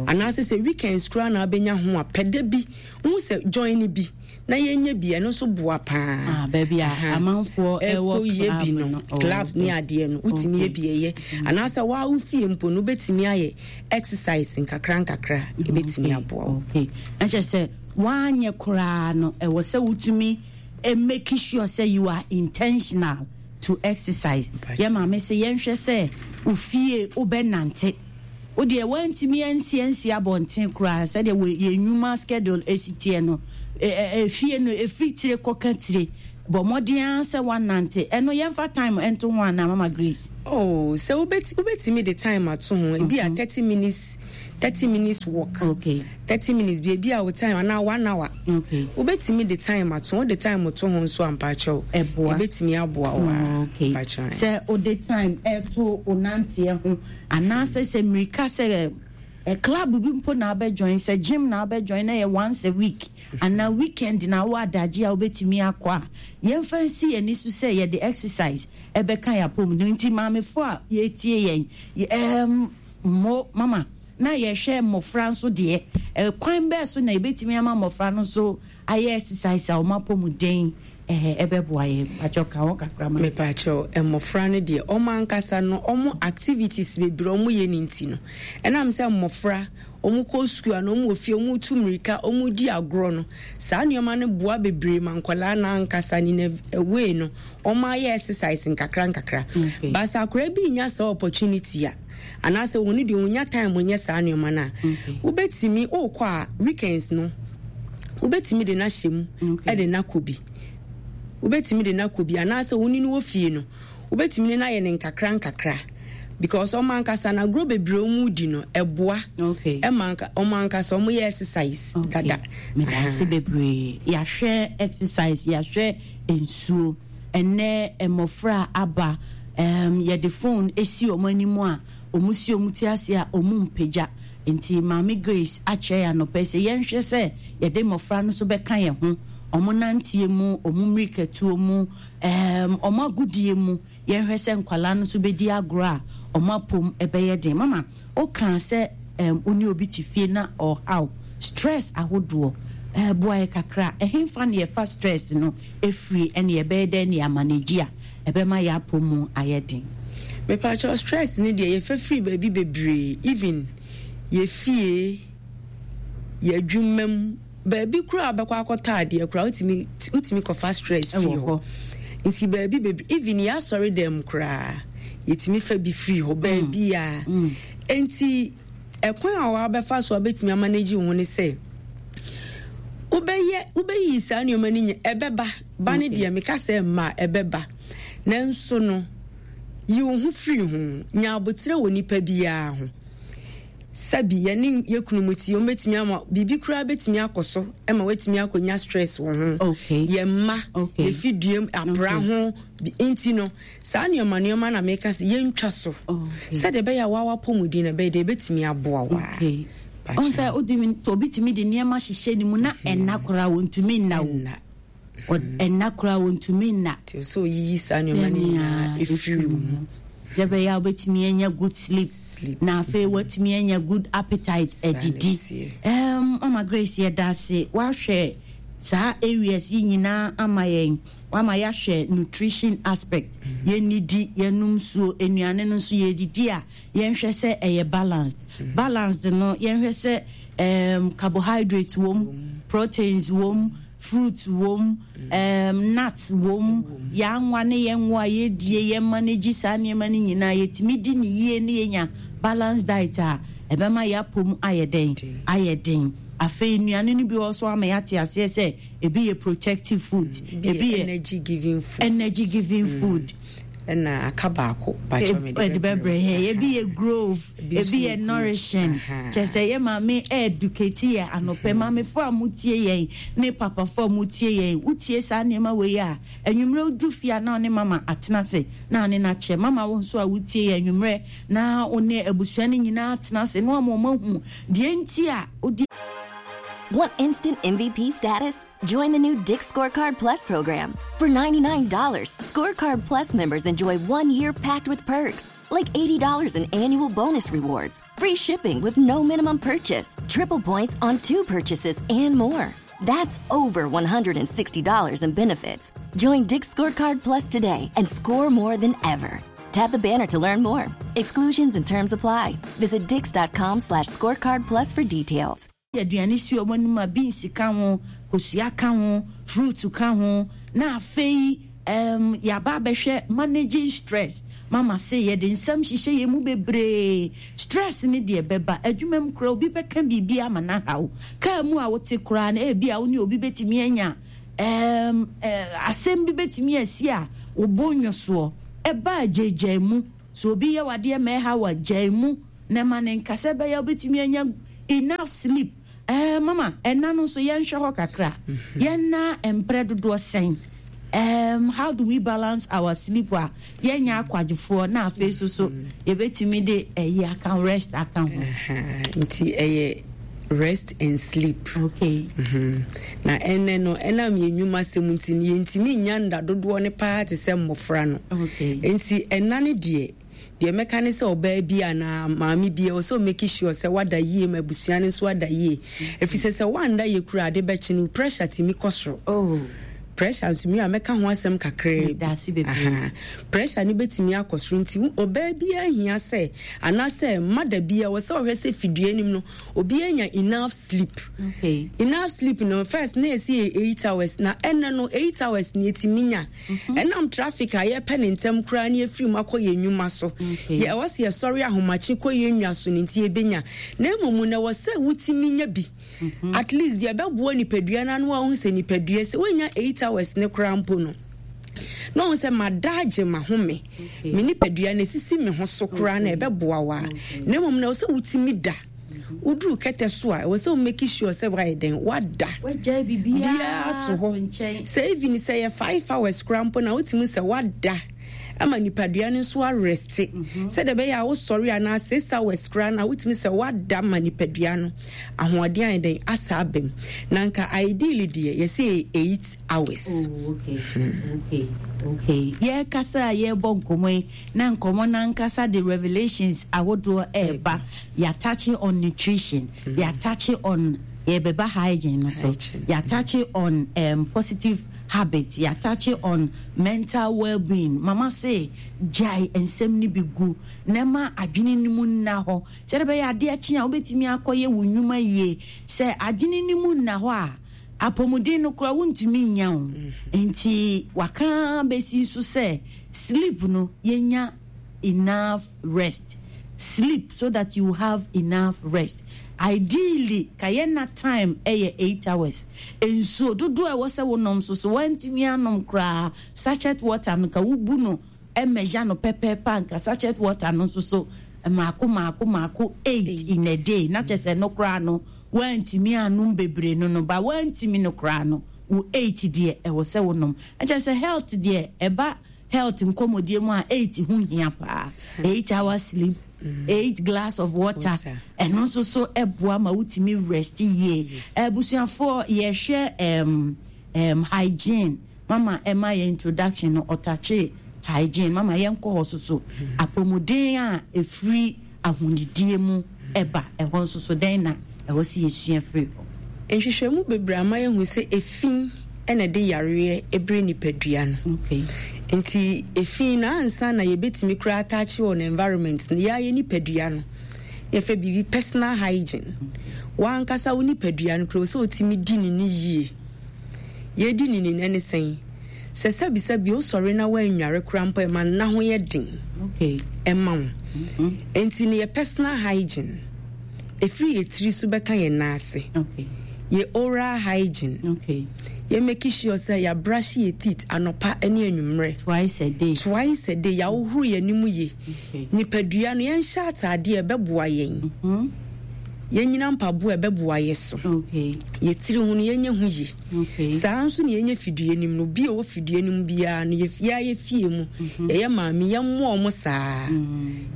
Anaasɛ sɛ weekends koraa na wobɛnya ho a, pɛ da bi wohu sɛ join bi na yɛnyɛ bi, ɛno nso boa paa. Ah, baabi a amanfoɔ ɛwɔ yɛ bi no, clubs ne adeɛ no, wotumi yɛ bi ɛyɛ. Anaasɛ waa wo fie mpo no wobɛtumi ayɛ exercise nkakra nkakra, ɛbɛtumi aboa wo. Okay. Na kyerɛ sɛ woanyɛ koraa no, ɛwɔ sɛ wotumi make sure sɛ you are intentional to exercise. Yɛ maame sɛ yɛnhwɛ sɛ ofie wobɛnante. Wo deɛ woantumi ansi ansi abɔnten koraa, sɛdeɛ yɛn nnwuma schedule esi teɛ no, efie no efiri tire kɔka tire Bɔ mmɔden ara sɛ woanante. Ɛno yɛmfa time nto ho anaa, Mama Grace? Oh, sɛ wobɛt wobɛtumi de time ato ho, ebi a thirty minutes, thirty minutes walk. Okay. Thirty minutes bi, ebi a wo time anaa one hour. Okay. Wobɛtumi de time ato ho, wode time to ho nso a mpakyɛw. Ɛboa. Ɛbɛtumi aboa wo a. Okay. Mpakyɛw. Sɛ wode time ɛto wo nanteɛ ho anaasɛ sɛ mmirika sɛ ɛ club bi mpo na wobɛ join, sɛ gym na wobɛ join na ɛyɛ once a week anaa weekend na wowɔ adagye a wobɛtumi akɔ a, yɛmfa nsi yɛn ani so sɛ yɛde exercise ɛbɛka yɛn apɔmuden. Nti maamefo a yɛretie yɛn, ɛɛm, mo mama na yɛhwɛ mmɔfra nso deɛ, ɛkwan bɛɛ so na yɛbɛtumi ama mmɔfra no nso ayɛ exercise a wɔn apɔmuden ɛhɛ ɛbɛboa yɛn? Mpakyɛw, ka ho kakra ma. Mepakyɛw, mmɔfra no deɛ, wɔn ankasa no, wɔn activities bebree wɔn yɛ ne nti no, ɛnam sɛ mmɔfra wɔn kɔ sukuu ana wɔn wɔ fie, wɔn tu mmirika, wɔn di agorɔ no, saa nneɛma no boa bebree ma nkwadaa no ankasa ne na way no wɔn ayɛ exercise nkakra nkakra. Okay. Baasa akwadaa bi nya saa opportunity a, anaasɛ wɔn deɛ wɔn nya time nyɛ saa nneɛma no a, Okay. wobɛtumi ɔrekɔ a, weekends no wobɛtumi de n'ahyɛ mu Okay. ɛde n'akɔ bi, wobɛtumi de n'akɔ bi, anaasɛ wɔn ni no wɔ fie no, wobɛtumi ne n'ayɛ ne nkakra nkakra, because ɔmo ankasa na agorɔ bebree ɔmo di no ɛboa Okay. ɛma anka ɔmo ankasa ɔmo yɛ exercise Okay. dada. Meda ase bebree. Yɛahwɛ exercise, yɛahwɛ nsuo. Ɛnɛ mmɔfra aba, um, yɛde phone esi wɔn anim a wɔn si wɔn ti ase a wɔn mpagya. Nti Maame Grace akyerɛ yɛn anɔpɛ sɛ yɛnhwɛ sɛ yɛde mmɔfra no nso bɛka yɛn ho, wɔn nanteɛ mu, wɔn mmirikatuo mu, um, wɔn agodie mu. Yɛnhwɛ sɛ nkwalaa no nso bɛdi agorɔ a wɔn apom ɛbɛyɛ den. Mama, wokaa sɛ um, wo ne obi te fie na ɔhaw stress ahodoɔ, uh, boa yɛ kakra. Ɛhemfa ne yɛfa stress no ɛfiri, ɛne yɛbɛyɛ dɛn ne yɛamanage a ɛbɛma yɛ apɔ mu ayɛ den? Mepakyɛw, stress no deɛ, yɛfɛ firi baabi bebree, even yɛfie, yɛadwuma mu, baabi koraa a wobɛkɔ akɔtɔ adeɛ koraa, wotumi wotumi kɔfa stress firi Ɛwɔ hɔ. hɔ. Nti baabi bebree, even yɛasɔre dɛm koraa, yɛtumi fa bi firi hɔ baabi a. Nti ɛkwan a wabɛfa so a wobɛtumi amanage wo ho ne sɛ wobɛyɛ, wobɛyi saa nneɛma no nyɛ ɛbɛba ba ne Okay. deɛ meka sɛ mma a ɛbɛba, nanso no yi wo ho firi ho, nya abotire wɔ nipa biara ho. Sɛbi yɛne yɛ kunu mu ti, wɔn bɛtumi ama biribi koraa bɛtumi akɔ so ɛma wɔatumi akɔnya stress wɔ ho. Okay. Yɛn mma, Okay. yɛfi duam apra Okay. ho bi- nti no saa nneɛma nneɛma na meka sɛ yɛntwa so Okay. sɛdeɛ ɛbɛyɛ a wawa apɔmuden no ɛbɛyɛ deɛ ɛbɛtumi aboa wo a. Okay. Pakyɛ. Ɔn sɛ wotumi, obi tumi de nneɛma hyehyɛ ne mu na ɛnna koraa wɔntumi nna wo. Ɛnna. Ɔ- ɛnna koraa wɔntumi nna. Nti sɛ oyiyi saa nneɛma no nyinaa ɛfiri wo mu. Deɛ bɛyɛ a wobɛtumi anya good sleep, Sleep. na afei woatumi anya good appetite Saa na adidi. ɛteɛ. um, Mama Grace, yɛda ase. Woahwɛ saa areas yi nyinaa ama yɛn, wama yɛahwɛ nutrition aspect, yɛnnidi, yɛnom nsuo, nnuane no nso yɛdidi a yɛnhwɛ sɛ ɛyɛ balanced. Balanced no, yɛnhwɛ sɛ um, carbohydrate wom, proteins wom, fruit wom, um, nuts wom, yɛanwa ne yɛnwo a yɛdie, yɛmanage saa nneɛma no nyinaa, yɛtumi di ne yie ne yɛnya balanced diet a ɛbɛma yɛapom ayɛ den, ayɛ den. Afei nnuane no bi wɔ so ama yɛate aseɛ sɛ ebi yɛ protective food, ebi yɛ energy giving food, energy giving food. Ɛna aka baako, bakyɛ me. Ɛde bɛbrɛ yɛ. Ebi yɛ growth, Ebi nso ebi yɛ yɛ growth. nourishing. Aha. Kyɛ sɛ yɛ maame educate yɛ anɔpɛ. Maamefo a motie yɛn ne papafo a motie yɛn, wotie saa nneɛma wei a, anwummerɛ wodu fie a na wo ne mama atena ase na ne n'akyɛ. Mama, wo nso a wotie yɛn, anwummerɛ na wo ne abusua no nyinaa atena ase na wama ɔma hu deɛ nti a wodi. Want instant M V P status? Join the new Dick's Scorecard Plus program. For ninety-nine dollars Scorecard Plus members enjoy one year packed with perks, like eighty dollars in annual bonus rewards, free shipping with no minimum purchase, triple points on two purchases, and more. That's over one hundred sixty dollars in benefits. Join Dick's Scorecard Plus today and score more than ever. Tap the banner to learn more. Exclusions and terms apply. Visit dicks dot com slash scorecard plus for details. Aduane si wɔn anim a, beans ka ho, kosua ka ho, fruit ka ho. Na afei um, yɛaba abɛhwɛ managing stress. Mama se yɛde nsɛm hyehyɛ yɛn mu bebree. Stress ne deɛ bɛba adwuma mu koraa, obi bɛka biribi ama no ahaw. Kaa mu a wote koraa no, ebi a wo ne obi bɛtumi anya Um, uh, asɛm bi bɛtumi asi a wobɔ nnwosoɔ ɛba gyaegyae mu so obi yɛ wadeɛ ma ɛha wa gyae mu na ma ne nkasa bɛyɛ wobɛtumi anya enough sleep. eh, mama ɛna no nso yɛnhwɛ hɔ kakra. Yɛnna mprɛ dodoɔ sɛn? um, how do we balance our sleep a yɛnyɛ akwadwofoɔ na afei so so yɛbɛtumi de ɛyi aka rest aka ho? Nti ɛyɛ rest and sleep. Okay. Mm-hmm. Na ɛnɛ no, ɛnam yɛn nnwuma sɛm nti no, yɛntumi nya nda dodoɔ ne paa te sɛ mmɔfra no. Okay. Nti ɛna no deɛ deɛ mɛka ne sɛ ɔbaa bi anaa maame bi ɛwɔ sɛ ɔmake sure sɛ wada yie ma abusua no nso ada yie, ɛfiri sɛ sɛ woanda yie kura ade bɛkye no, pressure tumi kɔ soro. Oh. Pressure nso mi a mɛka ho asɛm kakraa bi. Pressure no bɛtumi akɔ soro, nti ɔbaa biara hia sɛ anaasɛ mada biara wɔ sɛ ɔhwɛ sɛ fidua anim no obiara nya enough sleep. Okay. Enough sleep no, first na yɛsi yɛ eight hours, na ɛnɛ no eight hours na yɛtumi nya. Ɛnam traffic a yɛpɛ ne ntɛm koraa ne yɛfiri mu akɔ yɛn nnwuma so, yɛ ɛwɔ sɛ yɛsɔre ahomakye kɔ yɛn nnwa so no nti yɛbɛnya, na mmom na ɛwɔ sɛ wotumi nya bi at least deɛ ɛbɛboa nipadua no ano a wohu sɛ nipadua sɛ wonya eight hours ne koraa mpo no na ɔhu sɛ mada agye mahome, me nipadua no esisi me ho so koraa na ɛbɛboa wo a, na mmom na ɛwɔ sɛ wotumi da. Woduru kɛtɛ so a, ɛwɔ sɛ wo make sure sɛ woayɛ dɛn, wada biara to hɔ, sɛ even sɛ yɛ five hours koraa mpo na wotumi sɛ wada ama nipadua no nso arest, sɛdeɛ ɛbɛyɛ a wosɔre anaa six hours koraa na wotumi sɛ wada ma nipadua no ahoɔden ayɛ dɛn asa aba mu. Na nka ideally deɛ yɛsɛ eight hours. Oh, okay. Okay. Okay. Yɛkasa a yɛrebɔ nkɔmmɔ yi na nkɔmmɔ no ankasa de revelations ahodoɔ ɛreba. Yɛatouch on nutrition, mm. yɛatouch on yɛbɛba hygiene no so, yɛatouch on um, positive habits, yɛatouch on mental well-being. Mama se gyae nsɛm no bi gu na ma adwene no mu nna hɔ sɛde bɛyɛ adeɛ kye a wobɛtumi akɔyɛ wo nnwuma yie. Sɛ adwene no mu nna hɔ a, apɔmuden no koraa wontumi nya wo. Nti waka bɛsi so sɛ sleep no, yɛnya enough rest, sleep so that you have enough rest. Ideally ka yɛna time ɛyɛ eight hours. Nsuo dodoɔ a ɛwɔ sɛ wonom nso so, woantumi anom koraa, sachet water no ka wobu no ɛmɛgya no pɛpɛɛpɛ a, nka sachet water no nso so maako maako maako eight in a day, na kyɛ sɛ no koraa no woantumi anom bebree no no ba woantumi no koraa no, wo eight deɛ ɛwɔ sɛ wonom. Ɛkyɛ sɛ health deɛ, ɛba health nkɔmmɔdie mu a, eight ho hia paa. Eight hours sleep, eight glass of water, ɛno nso so ɛboa ma wotumi rest yie. Abusuafoɔ, yɛhwɛ um, um, hygiene. Mama ɛma yɛ introduction no, ɔtouch hygiene. Mama, yɛnkɔ hɔ so so apɔmuden a ɛfiri ahonidie mu ɛba, ɛhɔ nso so dɛn na ɛwɔ sɛ yɛsua firi hɔ? Nhwehwɛmu bebree ama yɛhu sɛ efi ɛna ɛde yareɛ ɛbrɛ nipadua no. Okay. Nti efi na ansa na yɛbɛtumi koraa atouch wɔ no environment no, yɛayɛ nipadua no, yɛfɛ biribi personal hygiene. Wankasa wo nipadua no koraa sɛ wotumi di ne ne yie. Yɛdi ne ni ne sɛn? Sɛ sɛbisɛbi wosɔre na woannware koraa mpo, ɛma nna ho yɛ den. Okay. Ɛma wo. Nti no yɛ personal hygiene ɛfiri yɛ tiri so bɛka yɛn nan ase. Okay. Yɛ oral hygiene, Okay. yɛ make sure sɛ yɛabrush yɛ teeth anɔpa ne anwummerɛ. Twice a day. Twice a day. Yɛahohoro yɛn anim yie. Okay. Nipadua no, yɛnhyɛ ataadeɛ a ɛbɛboa yɛn, Mm-hmm. yɛnyina mpaboa a ɛbɛboa yɛ so. Okay. Yɛtiri ho no, yɛnyɛ ho yie. Okay. Saa nso ne yɛnyɛ fidua nim no, obi a ɔwɔ fidua nim biara no, yɛa yɛ fie mu, yɛyɛ maame, yɛmmoa ɔmo saa,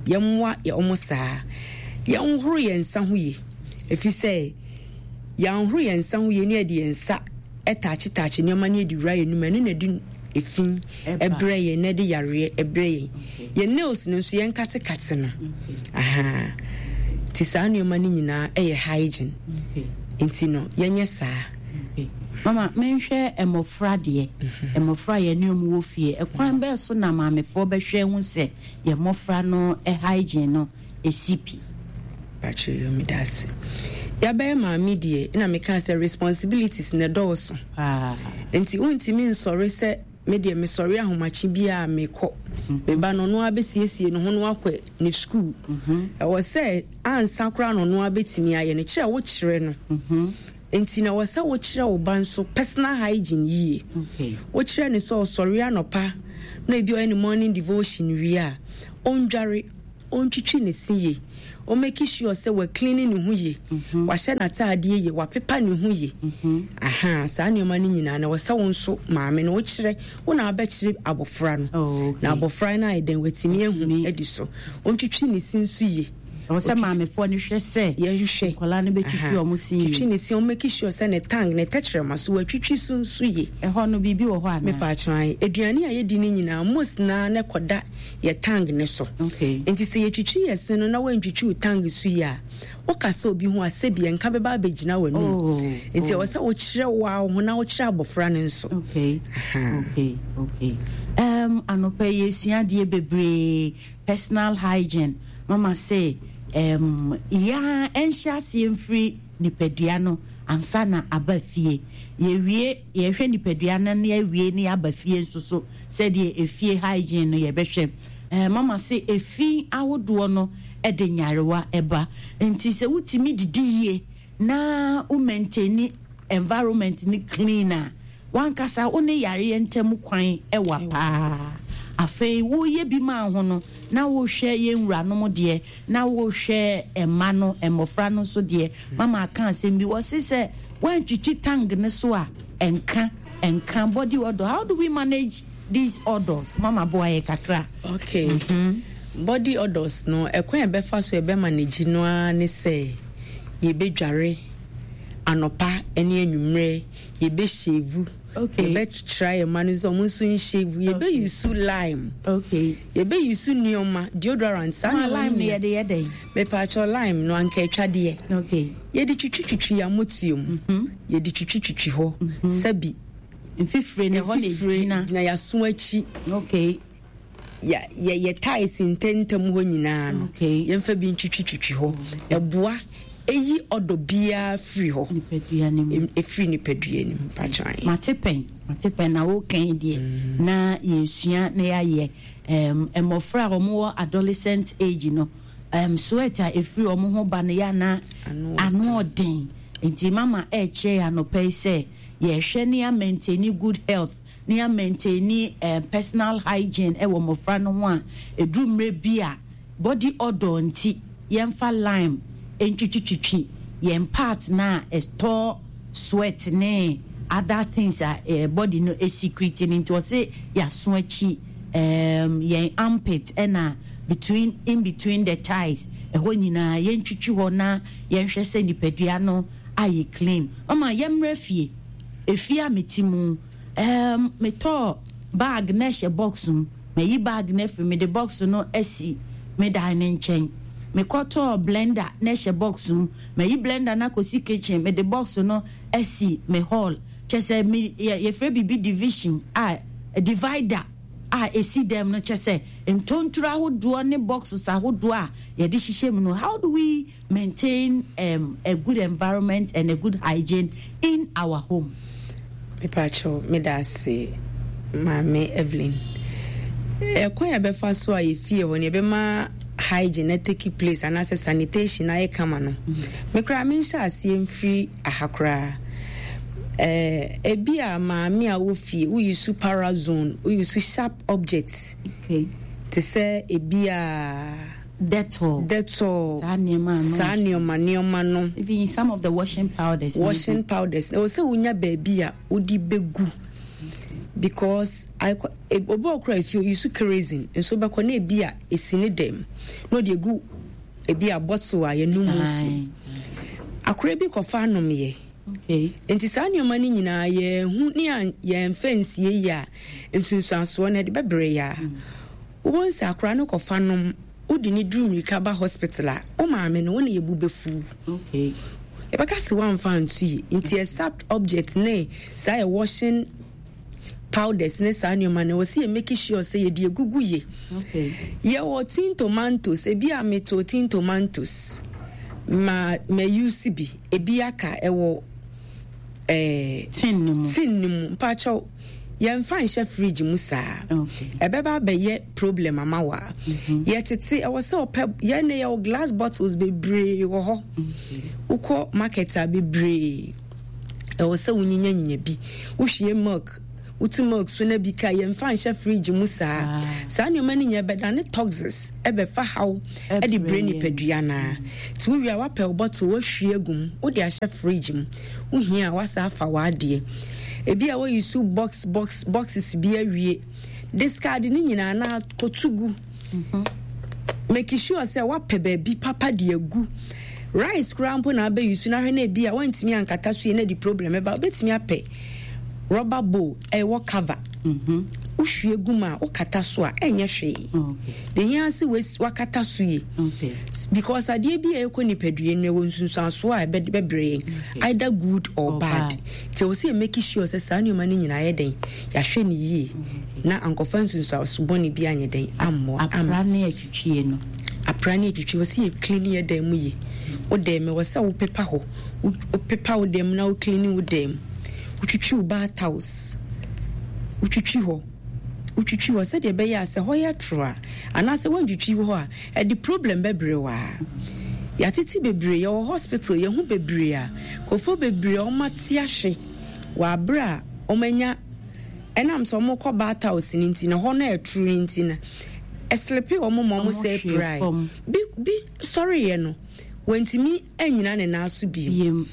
yɛmmoa ɔmo saa, yɛnhoro yɛn nsa ho yie, ɛfiri sɛ yɛanhoro yɛn nsa ho yie ne yɛde yɛn nsa ɛtouchetouche nneɛma ne yɛde wura yɛn num, ɛno na ɛde efi ɛbrɛ yɛn na ɛde yareɛ ɛbrɛ yɛn. Yɛn nails no nso, yɛn katekate no aha. Nti saa nneɛma no nyinaa ɛyɛ hygiene. Okay. Nti no yɛnyɛ saa. Okay. Mama, menhwɛ mmɔfra deɛ. Mmɔfra a yɛne ɔmo wɔ fie, ɛkwan bɛɛ so na maamefoɔ bɛhwɛ ho sɛ yɛn mmɔfra no hygiene no esi pi? Pakyɛ, meda ase. Yɛabɛyɛ maame deɛ, na meka sɛ responsibilities na ɛdɔɔso. Paa. Nti wontumi nsɔre sɛ me deɛ mesɔre ahomakye biaa mekɔ meba no, ɔno abɛsiesie ne ho no akɔ ne school. Ɛwɔ sɛ ansa koraa na ɔno abɛtumi ayɛ no kyerɛ, wokyerɛ no. Nti na wɔ sɛ wokyerɛ wo ba nso personal hygiene yie. Okay. Wokyerɛ ne sɛ ɔsɔre anɔpa na ebi ɔyɛ ne morning devotion wie a, ɔndware, ɔntwitwi ne se yie, ɔmake sure sɛ waclean ne ho yie, wahyɛ n'ataadeɛ yie, wapepa ne ho yie. Aha, saa nneɛma no nyinaa na wɔ sɛ wo nso maame no wokyerɛ, wo na wabɛkyerɛ abɔfra no. Oh, okay. Na abɔfra no ayɛ dɛn, watumi ahu Watumi. adi so. Ɔntwitwi ne se nso yie. Ɛwɔ sɛ maamefoɔ no hwɛ sɛ Yɛhwɛ. Nkwadaa no bɛtwitwi Aha. ɔmo se yie. Twitwi ne se, ɔmake sure sɛ ne tongue, ne tɛkyerɛma so watwitwi so nso yie. Ɛhɔ no biribi wɔ hɔ anaa? Mepatwan, aduane a yɛdi no nyinaa most naa ne kɔda yɛ tongue ne so. Okay. Nti sɛ yɛtwitwi yɛ se no na woantwitwi wo tongue so yie a, woka sɛ obi ho a, sɛbi ɛnka bɛba abɛgyina w'anum. Oh, Nti oh. ɛwɔ sɛ wokyerɛ wo a wo ho na wokyerɛ abɔfra no nso. Okay. Aha. Okay, okay. Um, anɔpa yi yɛsua adeɛ bebree, personal hygiene. Mama sɛ um, yɛa ɛnhyɛ aseɛ mfiri nipadua no ansa na aba fie. Yɛwie, yɛhwɛ nipadua no na yɛawie na yɛaba fie nso so sɛdeɛ efie hygiene no yɛbɛhwɛ. Eh, mama sɛ efi ahodoɔ no ɛde nyarewa ɛba. Nti sɛ wotumi didi yie na wo maintain environment no clean a, wankasa wo ne yareɛ ntam kwan ɛwa paa. Afei woyɛ bi maa ho no na wohwɛ yɛn wuranom deɛ, na wohwɛ mma no, mmɔfra no nso deɛ. Mama aka asɛm bi, wɔse sɛ woantwitwi tongue ne so a, ɛnka ɛnka body odor. How do we manage these odors? Mama boa yɛ kakra. Okay. Body odors no, ɛkwan a yɛbɛfa so yɛbɛma n'agyi no ara ne sɛ yɛbɛdware anɔpa ne anwummerɛ, yɛbɛshave. Okay. Yɛbɛkyerɛ yɛn mma no sɛ ɔmo nso nshave. Yɛbɛuse lime. Okay. Yɛbɛuse nneɛma, deodorant, saa Ma nneɛma no lime no nyinaa. yɛde yɛ dɛn? Mepaakyɛw, lime no anka atwadeɛ. Okay. Yɛde twitwitwitwi yɛn amotuo mu. Yɛde twitwitwitwi hɔ. Sɛbi mfifire no ɛhɔ na mfifire egyina. Gyina yɛaso akyi. Okay. Yɛ yɛ yɛ thighs ntɛntɛm hɔ nyinaa no. Okay. Yɛmfa bi ntwitwitwitwi hɔ. Ɛboa eyi ɔdɔ biara firi hɔ. Nipadua no mu. Em- Efiri nipadua no mu patran. Mate pɛn, mate pɛn na wokan deɛ na yɛsua na yɛayɛ. um, mmɔfra a wɔwɔ adolescent age no, um, sweat a ɛfiri wɔn ho ba no yɛ ana Ano ano ɔden. Nti mama ɛrekyerɛ yɛ anɔpa yi sɛ yɛhwɛ ne yɛamaintain good health ne yɛamaintain um, personal hygiene ɛwɔ mmɔfra no ho a, ɛduru mmerɛ bi a body odor nti yɛmfa lime ntwitwitwitwi yɛn part na ɛstore sweat ne other things a eh, body no secrete no. Nti ɔse yɛaso akyi, um, yɛn armpit ɛna between, in between the thighs ɛhɔ nyinaa yɛntwitwi hɔ na yɛnhwɛ sɛ nipadua no ayɛ clean. Mama, yɛmmerɛ fie, efie a mete mu, um, metɔɔ bag na ɛhyɛ box mu, mayi bag no afiri, mede box no asi me dan ne nkyɛn. Mekɔtɔɔ blender na ɛhyɛ box mu, mayi blender no akɔsi kitchen, mede box no asi me hall. Kyɛ sɛ me yɛ yɛfrɛ biribi division a divider a ɛsi dɛm no, kyɛ sɛ ntontoro ahodoɔ ne boxes ahodoɔ a yɛde hyehyɛ mu no. How do we maintain um, a good environment and a good hygiene in our home? Mepaakyɛw, meda ase, Maame Evelyn. Ɛkwan a yɛbɛfa so a yɛfie hɔ no yɛbɛma hygiene na take place anaasɛ sanitation ayɛ kama no, me koraa menhyɛ aseɛ mfiri aha koraa. Eh, ebi a maame a wɔ fie woyi so parazone, woyi so sharp object okay. te sɛ ebi a Dettol. Dettol. Saa nneɛma a saa nneɛma nneɛma no. Even some of the washing powders. Washing powders, ɛwɔ sɛ wonya baabi a wode bɛgu because akɔ- e- obi wɔ kora efie oyi so kerosene nso bɛkɔ na ebi a esi ne dɛm na ɔde egu ebi a bottle a yɛnum nsuo. Aye. Akora bi kɔfa anomyɛ. Okay. Nti saa nneɛma no nyinaa yɛnhu ne a yɛmfa nsie yi a, nsunsuansoɔ no ɛde bɛbrɛ yɛ a wobɛhu sɛ akora no kɔfa nom, wode ne duru mmirika ba hospital a, wo maame no wo ne yɛbu bɛfu. Okay. Yɛbɛka sɛ woamfa nto yi. Nti yɛ sharp object ne saa yɛ washing powders ne saa nneɛma no, wɔ sɛ yɛ make sure sɛ yɛde egugu yie. Okay. Yɛwɔ tin tomatoes, ebi a meto tin tomatoes ma ma use bi, ebi aka ɛwɔ ɛɛ tin no mu. Tin no mu. Mpakyɛw, yɛmfa nhyɛ fridge mu saa. Okay. Ɛbɛba abɛyɛ problem ama wa. Yɛtete, ɛwɔ sɛ ɔpɛ yɛn ne yɛwɔ glass bottles bebree wɔ hɔ. Wokɔ market a, bebree. Ɛwɔ sɛ wonyinya nyinya bi, wohwie milk, wotu milk so na bi ka, yɛmfa nhyɛ fridge mu saa. Saa nneɛma no nyinaa bɛdane toxins, ɛbɛfa haw ɛde brɛ nipadua naa. Nti wowie a, woapɛ wo bottle, woahwie agu mu, wode ahyɛ fridge mu. Wohia a, woasa afa w'adeɛ. Ebi a woyi so box box boxes bi awie, discard ne nyinaa na kɔtu gu. Make sure sɛ woapɛ baabi papa de agu. Rice koraa mpo na abɛyi so na ahwɛ na ebi a woantumi ankata so yie na de problem ɛba, wobɛtumi apɛ rubber bowl ɛwɔ cover. Wohwie gu mu a, wokata so a, ɛnyɛ hwee. De hia sɛ wakata so yie, because adeɛ bi a ɛkɔ nipadua no, ɛwɔ nsunsuansoɔ a ɛbɛbrɛ yɛn, either good or bad. Nti ɛwɔ sɛ yɛ make sure sɛ saa nneɛma no nyinaa yɛ dɛn, yɛahwɛ no yie na ankɔfa nsunsuanso bɔne bi anyɛ dɛn ammɔ. Apra ne atwitwie no. Apra ne atwitwie, wɔ sɛ yɛ clean yɛ dan mu yie. Wo dan mu, ɛwɔ sɛ wopepa hɔ, wopepa wo dan mu na wo clean wo dan mu, wotwitwi wo bath house, wotwitwi hɔ, wotwitwi hɔ sɛdeɛ ɛbɛyɛ a sɛ hɔ yɛ toro a, anaasɛ woantwitwi hɔ a, ɛde problem bɛbrɛ wo. A yɛatete bebree, yɛwɔ hospital, yɛho bebree a nkurɔfoɔ bebree a wɔate ahwe wɔ abere a wɔanya ɛnam sɛ wɔkɔ bath house no nti na hɔ no ɛtoro no nti no, ɛslepe wɔn ma wɔn sɛ prae bi bi sɔreeɛ no, wɔntumi anyina ne nan so bio.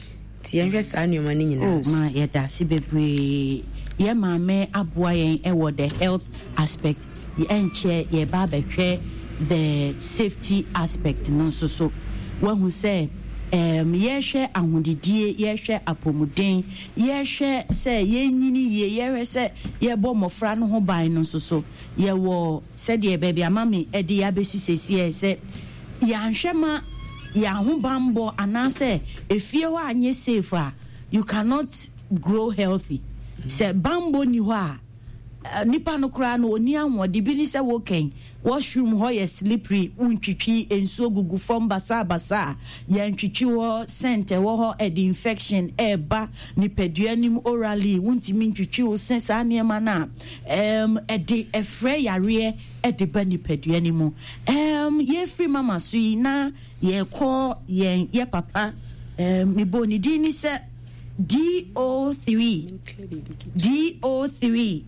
Nti yɛnhwɛ saa nneɛma no nyinaa Oh, so. Ma yɛda ase bebree. Yɛ maame aboa yɛn ɛwɔ the health aspect. Ɛnkyɛ yɛba abɛhwɛ the safety aspect no nso so. Wahu sɛ um, yɛhwɛ ahodidie, yɛhwɛ apɔmuden, yɛhwɛ sɛ yɛnyini yie, yɛhwɛ sɛ yɛbɔ mmɔfra no ho ban no nso so, yɛwɔ sɛdeɛ baabi ama me ɛde yɛabɛsi sesiɛ sɛ yɛanhwɛ ma yɛn ahobanbɔ anaasɛ efie hɔ anyɛ safe a, you cannot grow healthy. Sɛ bambɔ ni hɔ a, eh, nipa no koraa no ɔni ahoɔden bi ne sɛ wokɛn washroom hɔ yɛ slippery, wontwitwi, nsuo gugu fam basabasa a yɛntwitwi hɔ, scent ɛwɔ hɔ, ɛde infection ɛɛba nipadua nim orally, wontumi ntwitwi wo se, saa nneɛma no a um, ɛde ɛfrɛ yareɛ ɛde ba nipadua no mu. um, yɛfiri mama so yi na yɛkɔ yɛn yɛ papa, um, mebɔ ne din ni sɛ D O three D O three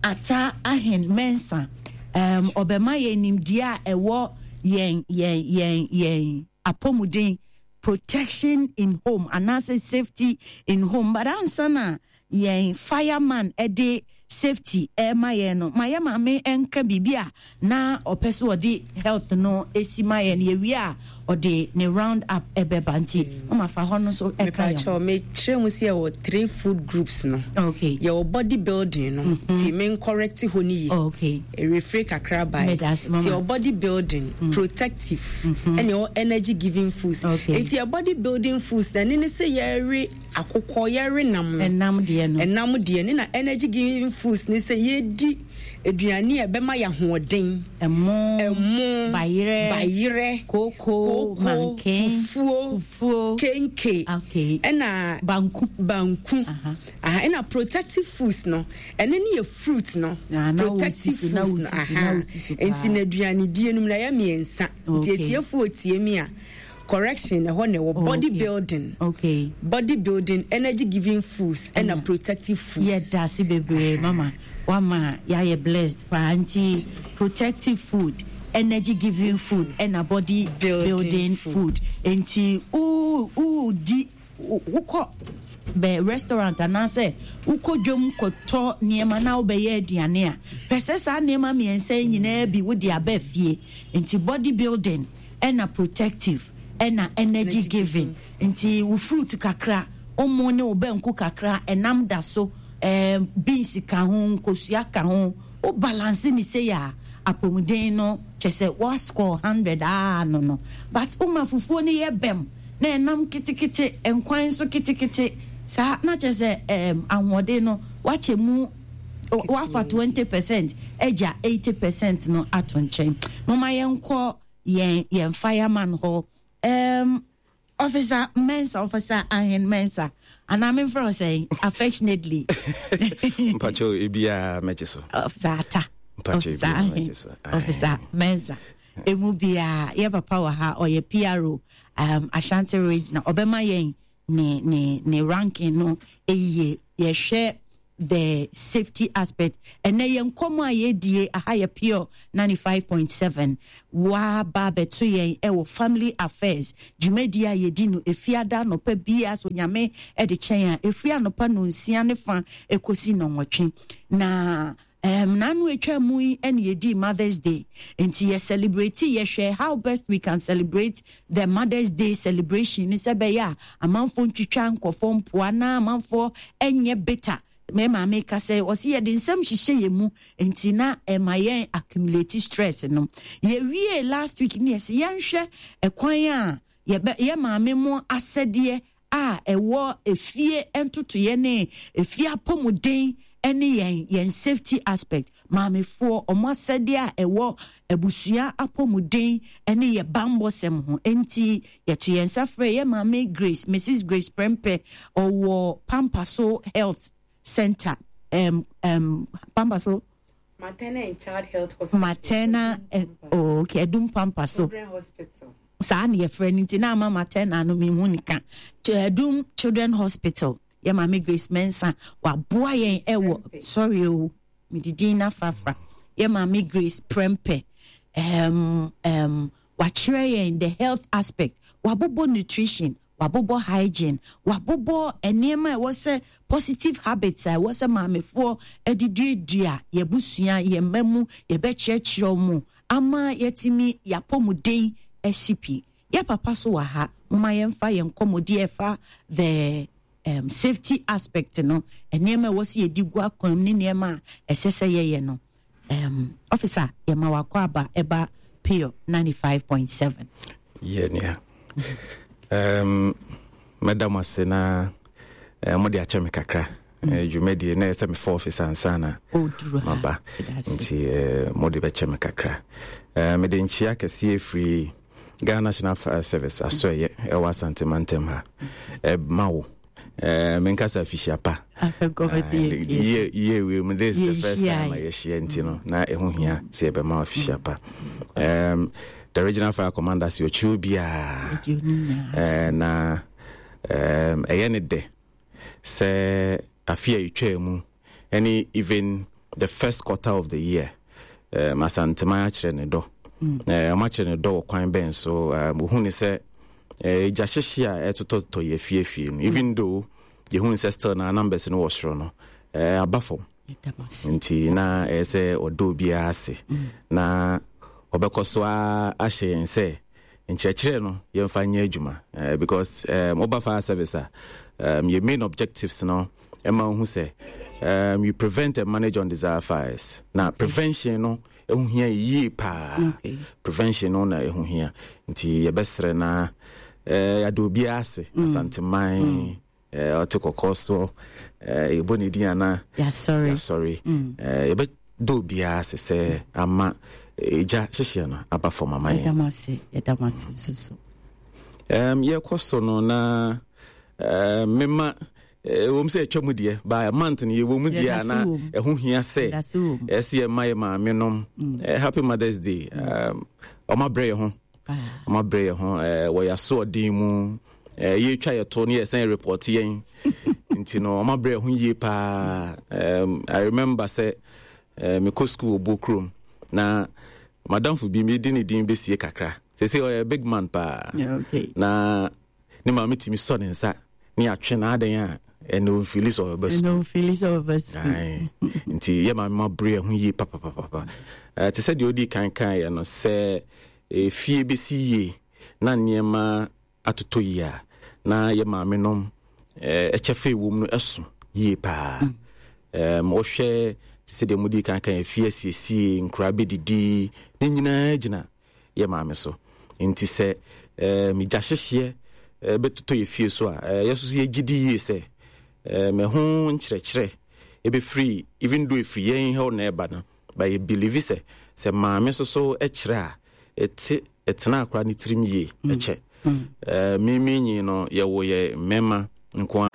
Ata Ahen Mensa. um, ɔbɛma yɛn nimdeɛ a ɛwɔ yɛn yɛn yɛn yɛn apɔmuden, protection in home anaasɛ safety in home. But ansa na yɛn fireman ɛde safety ɛma yɛn no, ma yɛ maame nka biribi a na ɔpɛ so ɔde health no esi ma yɛn. Yɛwie a, ɔde ne round up ɛbɛba. Nti ɔma fa hɔ no so ɛka yɛn ho. Mepakyɛw, mekyerɛ mu sɛ yɛwɔ three food groups no. Okay yɛwɔ body building no, nti men correct hɔ no yie. Okay ɛrefiri kakra bae. Meda ase, mama. Nti yɛwɔ body building, protective, ɛne ɛwɔ energy giving foods. Okay. Nti yɛ body building foods na ɛne ne sɛ yɛre akokɔ, yɛre nam no. Ɛnam deɛ no. Ɛnam deɛ ne na energy giving foods ne sɛ yɛdi aduane a ɛbɛma yɛ ahoɔden. Ɛmo. Ɛmo. Bayerɛ. Bayerɛ. Kooko, manken. Fufuo. Fufuo. Kenke. Okay. Ɛna banku. Banku. Aha. Aha, ɛna protective foods no, ɛno ne yɛ fruit no. Ah, na protective wosi so, na foods no. wosi so, na Aha. wosi so paa. Nti na aduanedie no mu na ɛyɛ mmiɛnsa. Nti Okay. etiefoɔ tie mi a, correction ɛhɔ na ɛwɔ body Okay. building, okay body building, energy giving foods, ɛna Ɛna. protective foods. Yɛda ase bebree, mama. Wama yɛayɛ blessed paa. Nti protective food, energy giving food, ɛna body building building food. Food. Nti wo wodi, wokɔ bɛ restaurant anaasɛ wokɔ dwom kɔtɔ nneɛma na wobɛyɛ aduane a, pɛ sɛ saa nneɛma mmiɛnsa yi nyinaa bi wode aba fie. Nti body building, ɛna protective, ɛna energy energy giving. Nti wo fruit kakra, wo ne wo banku kakra, ɛnam da so, ɛɛ beans ka ho, nkosua ka ho, wo balance ne sei a, apɔmuden no kyɛ sɛ wa score hundred aa no no But woma fufuo no yɛ bɛm na ɛnam ketekete, nkwan nso ketekete saa, na kyɛ sɛ ɛɛm ahoɔden no wakyɛ mu, wafa twenty percent agya eighty percent no ato nkyɛn. Moma yɛnkɔ yɛn yɛn fireman hɔ, um, Officer Mensa, Officer Ahen Mensa, anaa memfrɛ wo sɛn affectionately? Mpakyɛw, ebiaa mɛgye so. Officer Ata. Mpakyɛw, Officer ebiaa Ahen. mɛgye so. Officer Mensa, emu biaa. Yɛ papa wɔ ha, ɔyɛ P R O, um, Ashanti Region. Ɔbɛma yɛn ne ne ne ranking no ɛyie. Yɛhwɛ the safety aspect. Ɛnɛ yɛn nkɔmɔ a yɛdie aha yɛ Pure ninety-five point seven. Waba abɛto yɛn ɛwɔ Family Affairs dwumadie a yɛdi no Efiada anɔpa biara so, Nyame ɛde kyɛn a, efiri anɔpa nonsia ne fa ekosi nɔnwɔtwe. Na um, nanu atwa mu yi ɛna yɛdi Mother's Day, nti yɛ celebrate, yɛhwɛ how best we can celebrate the Mother's Day celebration ne sɛ bɛyɛ a amanfoɔ ntwitwa nkɔfoɔ mpoa na amanfoɔ ɛnyɛ bitter. Me maame ka sɛ ɔsi yɛde nsɛm hyehyɛ yɛn mu, nti na ɛma yɛn accumulate stress no. Yɛwie last week ne yɛsɛ yɛnhwɛ ɛkwan a yɛbɛ yɛ maame mu asɛdeɛ a ɛwɔ efie ntotoyɛ ne efie apɔmuden ne yɛn yɛn safety aspect. Maamefoɔ ɔmo asɛdeɛ a ɛwɔ abusua apɔmuden ne yɛ bambɔsɛm ho, nti yɛto yɛn nsa frɛ yɛ maame Grace, Missus Grace Prempeh, ɔwɔ Pampaso Health Center, um, um, Pampaso Maternal and Child Health Hospital. Maternal, eh, oh, okay, Adum Pampaso Children Hospital. Saa ne yɛfrɛ no, nti na ama maternal no mehu ne ka. Adum Children Hospital, yɛ maame Grace Mensa waboa yɛn ɛwɔ, sorry o, mede din no afrafra, yɛ maame Grace Prempeh um, um, wakyerɛ yɛn the health aspect, wabobɔ nutrition, wabobɔ hygiene, wabobɔ nneɛma a ɛwɔ sɛ positive habits a ɛwɔ sɛ maamefoɔ de duadua yɛbusua, yɛn mma mu, yɛbɛkyerɛkyerɛ mu ama yɛtumi yɛapɔmuden asi pi. Yɛ papa so wɔ ha, moma yɛmfa yɛn nkɔmmɔdi ɛfa the um, safety aspect no, nneɛma a ɛwɔ sɛ yɛdi gu akwan mu ne nneɛma a ɛsɛ sɛ yɛyɛ no. um, officer yɛma wakɔ aba ɛba Pure ninety-five point seven. Yɛ nua, um, mɛda mo ase na uh, mode akyɛ me kakra. mm. uh, dwumadie na ɛsɛ mefa office ansa na maba, nti uh, mode bɛkyɛ me kakra. uh, mede nkyia kɛseɛ firi Ghana National Fire Service asɔɛyɛ ɛwɔ Asantemantam ha ɛma wo. Uh, menkasa afihyia pa. Yie wei mu, this is the first time a yɛhyia, nti no na ɛho hia sɛ yɛbɛma afihyia pa. um, the regional fire commander sɛ ɔkyerɛ obiaa uh, na um, ɛyɛ ne dɛ sɛ afe a ɛtwaa mu ɛne even the first quarter of the year, um, Asanteman akyerɛ ne dɔ. Ɔma kyerɛ ne dɔ wɔ kwan bɛn so? Wohu ne sɛ gya hyehye a ɛtotɔtotɔ yɛ fiefie no, even though yɛhu sɛ still na numbers no wɔ soro no, aba fam, nti na ɛyɛ sɛ ɔdɔ obiara ase na ɔbɛkɔ so ahyɛ yɛn sɛ nkyerɛkyerɛ no yɛmfa nyɛ adwuma, because um, woba fire service a, um, your main objectives no ɛma wohu sɛ um, you prevent and manage undesired fires, na prevention no ɛho hia yie paa. okay. Prevention no na ɛho hia, nti yɛbɛsrɛ na eh, yɛade obiara ase. mm. Asanteman mm. eh, ɔte kɔkɔɔ soɔ, eh, yɛbɔ ne din ana yɛasɔre. mm. eh, yɛbɛdɔ obiara ase sɛ ama ɛgya hyehyeɛ no aba fam ama yɛn. um, yɛkɔ so no na uh, mema ɛwɔ mu sɛ ɛtwa mu deɛ, by month no yɛwɔ mu deɛ a, na ɛho hia sɛ ɛsɛ yɛma yɛ maame nom happy Mother's Day. Ɔma brɛ yɛ ho, ɔma brɛ yɛ ho, wɔyɛ asoɔden mu, yɛtwa yɛ to ne yɛsɛn report yɛn, nti no ɔma brɛ yɛ ho yie paa. I remember sɛ mekɔ school wɔ kurom na madamfo bi, medi ne din bɛsie kakra, sɛ sɛ ɔyɛ big man paa, na ne maame tumi sɔ ne nsa ne atwe na adan a ɛna ɔmfili sɛ ɔbɛba. Sukuu nti yɛ maame ma bere ho yie papapapa. Te sɛ deɛ ɔdi kan kan yɛ no sɛ efie bɛsi yie na nneɛma atotɔ yie a, na yɛ maame nom ɛkyɛ fɛ wɔ mu no ɛso yie paa. Wɔhwɛ te sɛ deɛ mudi kan kan efie asiesie, nkura bɛdidi, ne nyinaa gyina yɛ maame so, nti sɛ megya hyehyeɛ bɛtotɔ yɛ fie so a, yɛ so so yɛgye di yie sɛ mɛho nkyerɛkyerɛ ɛbɛfiri, even though ɛfiri yɛn hɔ na ɛba no, but yɛ believe sɛ sɛ maame so so kyerɛ a, ɛte ɛtena akora ne tirim yie ɛkyɛ. Mimi nyi no yɛwɔ yɛ mmarima nko.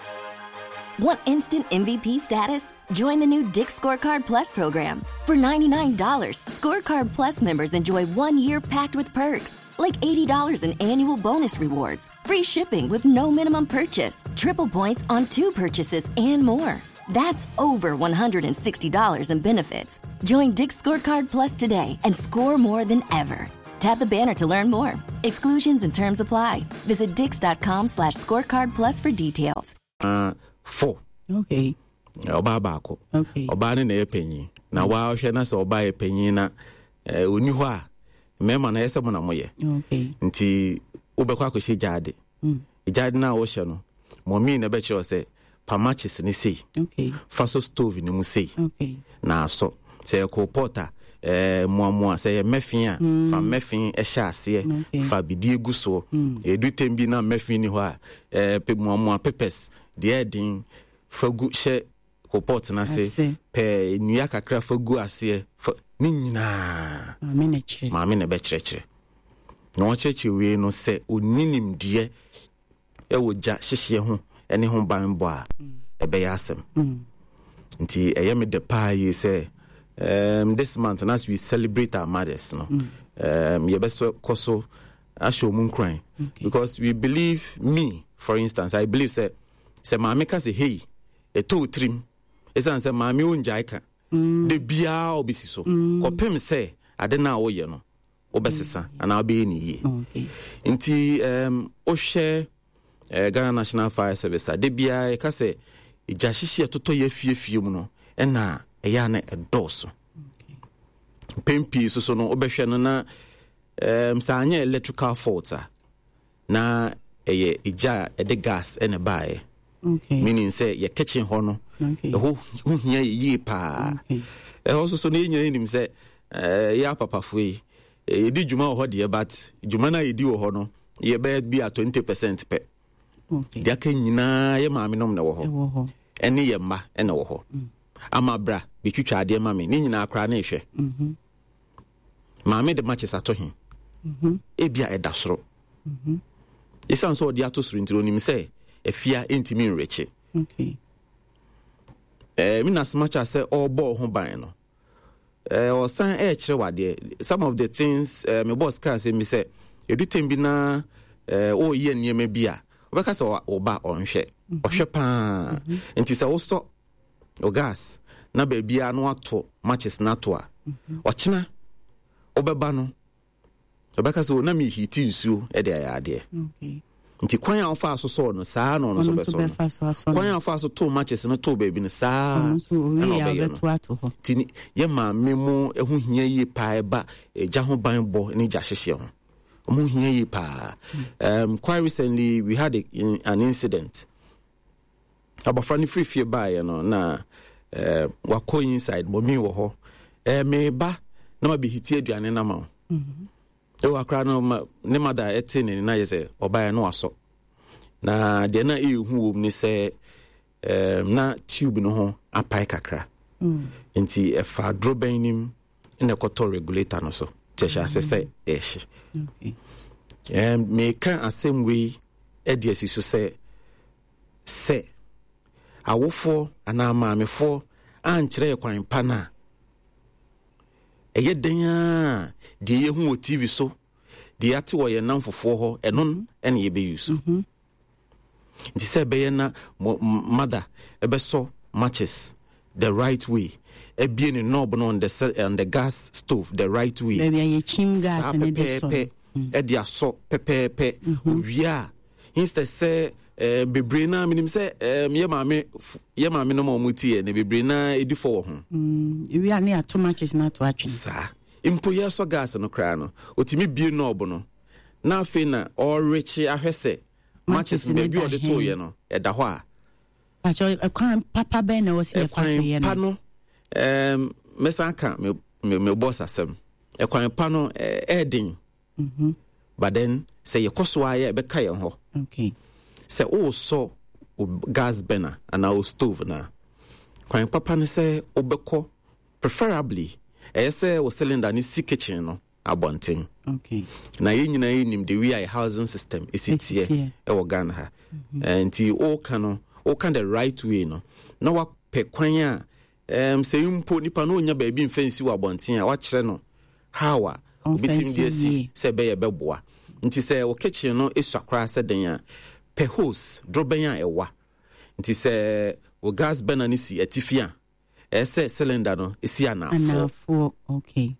Want instant M V P status? Join the new Dick's Scorecard Plus program. For ninety-nine dollars Scorecard Plus members enjoy one year packed with perks. like eighty dollars in annual bonus rewards, free shipping with no minimum purchase, triple points on two purchases, and more. That's over one hundred sixty dollars in benefits. Join Dick's Scorecard Plus today and score more than ever. Tap the banner to learn more. Exclusions and terms apply. Visit dicks dot com slash scorecard plus for details. Uh, four. Okay. Ɔbaa baako. Okay. Ɔbaa no na ɛyɛ panyin na wahwɛ na sɛ ɔbaa yɛ panyin na eh, ɔni hɔ a, mmarima no ɛyɛ sɛ mo na moyɛ. Okay. Nti wobɛkɔ akɔhyɛ gyaade. Gyaade no a wohyɛ no, mɔmii na ɛbɛkyerɛ wo sɛ pa matches ne sei, Okay. fa so stove no mu sei Okay. na asɔ. Sɛ yɛ coal pot a, eh, mmoamoa, sɛ yɛ mɛfin a, fa mɛfin ɛhyɛ aseɛ, Okay. fa bidie gu soɔ. Ɛdu tɛm bi na mɛfin ni hɔ a, eh, pe mmoamoa papers deɛ ɛden fa gu hyɛ coal pot no ase. Ase. Pɛ nnua kakra fa gu aseɛ fa ne nyinaa. Maame na kyerɛ. Maame na ɛbɛkyerɛkyerɛ na ɔkyerɛkyerɛ wei no sɛ ɔni nimdeɛ ɛwɔ gya hyehyeɛ ho ɛne ho banbɔ a, ɛbɛyɛ asɛm. Nti ɛyɛ me dɛ paa yie sɛ um, this month and as we celebrate our mothers no, um, yɛbɛsɔ kɔ so ahyɛ ɔmu nkuran because we believe, me for instance, I believe sɛ sɛ maame ka sɛ, "Hey," ɛtɔ wo tirim, ɛsiane sɛ maame ɔngyae ka da biara ɔbɛsi so kɔpem sɛ ade no a woyɛ no wobɛsesa anaa wobɛyɛ ne yie. Okay. Nti um, wohwɛ uh, Ghana National Fire Service a, da biara yɛka sɛ gya hyehye a ɛtotɔ yɛ afiefie mu no ɛna ɛyɛ a na ɛdɔɔso mpɛn pii. So so no wobɛhwɛ no na um, sɛ anyɛ electrical fault a, na ɛyɛ egya a ɛde gas ɛna ɛbaeɛ, Okay. meaning sɛ yɛ kitchen hɔ no Okay. ɛhɔ ho hia yɛ yie paa. Okay. Ɛhɔ so so no yɛnyina nim sɛ eh, yɛ apapafoɔ yi, eh, yɛdi dwuma wɔ hɔ deɛ, but dwuma no a yɛdi wɔ hɔ no yɛbɛyɛ bi a twenty percent pɛ. Okay. Deɛ aka nyinaa yɛ maame nom na ɛwɔ hɔ. Ɛwɔ hɔ. Ɛne yɛ mma ɛna ɛwɔ hɔ ama bra bɛtwitwa adeɛ ma me ne nyinaa koraa ne ɛhwɛ maame de matches ato he, ebia ɛda soro. Ɛsiane sɛ ɔde ato soro nti, onim sɛ afia ɛntumi nrekye. Okay. eh, me na as much as sɛ ɔrebɔ ho ban no, eh, ɔsan ɛrekyerɛ wadeɛ some of the things. eh, me boss kaa sɛ mi sɛ ɛdu tɛm bi na eh, ɔreyɛ nneɛma bi a wobɛka sɛ ɔ- ɔba ɔnhwɛ, ɔhwɛ paa. Nti sɛ wosɔ o gas na baabiara no ato matches no ato a, ɔkyena wobɛba no ɔbɛka sɛ, "O, na meheat nsuo de ayɛ adeɛ." Okay. Nti kwan a wofaa so sɔɔ no, saa na ɔno nso Ɔno nso bɛsɔ no. bɛfa so asɔ Kwan no. a wofaa so too matches no too baabi no, saa Ɔno nso ɛna owie a ɔbɛyɛ no. ɔbɛto ato hɔ. Nti ne- yɛ maame mu ho hia yie paa ɛba gya ho ban bɔ ne gya hyehyɛ ho, ɔmo hia yie paa. um, quite recently we had a, an incident. Abɔfra no firi fie baeɛ no na uh, wakɔ inside, mɔmi wɔ hɔ, uh, meba na mabɛheat aduane no ama wo. Ɛwɔ akora no ma, ne mada ɛte ne na yɛ sɛ ɔbaeɛ no wasɔ na deɛ na ɛyɛ hu wɔ mu ne sɛ um, na tube no ho apae kakra, nti ɛfa dorobɛn nim na ɛkɔtɔ regulator no so nti ɛhyɛ ase sɛ ɛhye. Okay. um, meka asɛm wei de asi so sɛ sɛ awofoɔ anaa maamefoɔ ankyerɛ yɛ kwan pa no a, ɛyɛ den a deɛ yɛhu wɔ T V so, deɛ yɛate wɔ yɛn namfofoɔ hɔ, ɛno no ɛne yɛbɛyi so. Nti sɛ ɛbɛyɛ na mo- m- mother ɛbɛsɔ matches the right way, ebie ne knob no on the, se- on the gas stove the right way, Baabi a yɛkyim gas saa ne de sɔ no. pɛpɛɛpɛ ɛde asɔ pɛpɛɛpɛ owie a, instead sɛ eh, bebree naa menim sɛ eh, yɛ maame f- yɛ maame no ma ɔmo tie ne bebree naa ɛdi fɔ wɔ ho. Ewie a ne yɛato matches no ato atwene. Saa mpo yɛsɔ gas no koraa no, ɔtumi bie knob no na afei na ɔrekye ahwɛ sɛ matches matches no no baabi a da ɔde he. tooyɛ no ɛda hɔ a. Pakyɛ, ɛkwan papa bɛn na ɛwɔ sɛ yɛfa so yɛ Ɛkwan pa no? no, ɛɛm, mɛsan ka me me me boss asɛm, ɛkwan pa no ɛɛ ɛɛden, but then sɛ yɛkɔ so a yɛ ɛbɛka yɛn hɔ. Okay. Sɛ wosɔ wo gas burner anaa wo stove na kwan papa ne sɛ wobɛkɔ, preferably ɛyɛ sɛ wo cylinder ne si kitchen no abɔnten. Okay. Na yɛn nyinaa yɛnim the way a yɛ housing system ɛsi ɛsi teɛ teɛ. Ɛwɔ Ghana ha. Eh, nti woka no woka the right way no na wapɛ kwan a um, sɛ mpo nipa no ɔnya baabi mfa nsi wɔ abɔnten a, wakyerɛ no how a Obɛtumi de asi sɛ ɛbɛyɛ bɛboa. Nti sɛ wo kitchen no esua koraa sɛ den a, pɛ hose dorobɛn a ɛwa. Nti sɛ wo gas burner no si atifi a, ɛyɛ sɛ cylinder no esi anafoɔ. Anafoɔ, okay.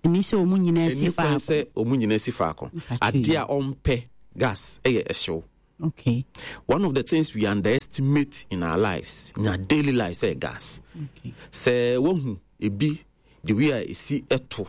Ɛni sɛ ɔmu nyinaa si ɛni kwan faako. Sɛ ɔmu nyinaa si faako. Mpatwe. Adeɛ a ɔmpɛ gas ɛyɛ ɛhyew. Okay one of the things we underestimate in our lives, in our daily lives, ɛyɛ gas. Okay sɛ wohu ebi, the way a esi ɛto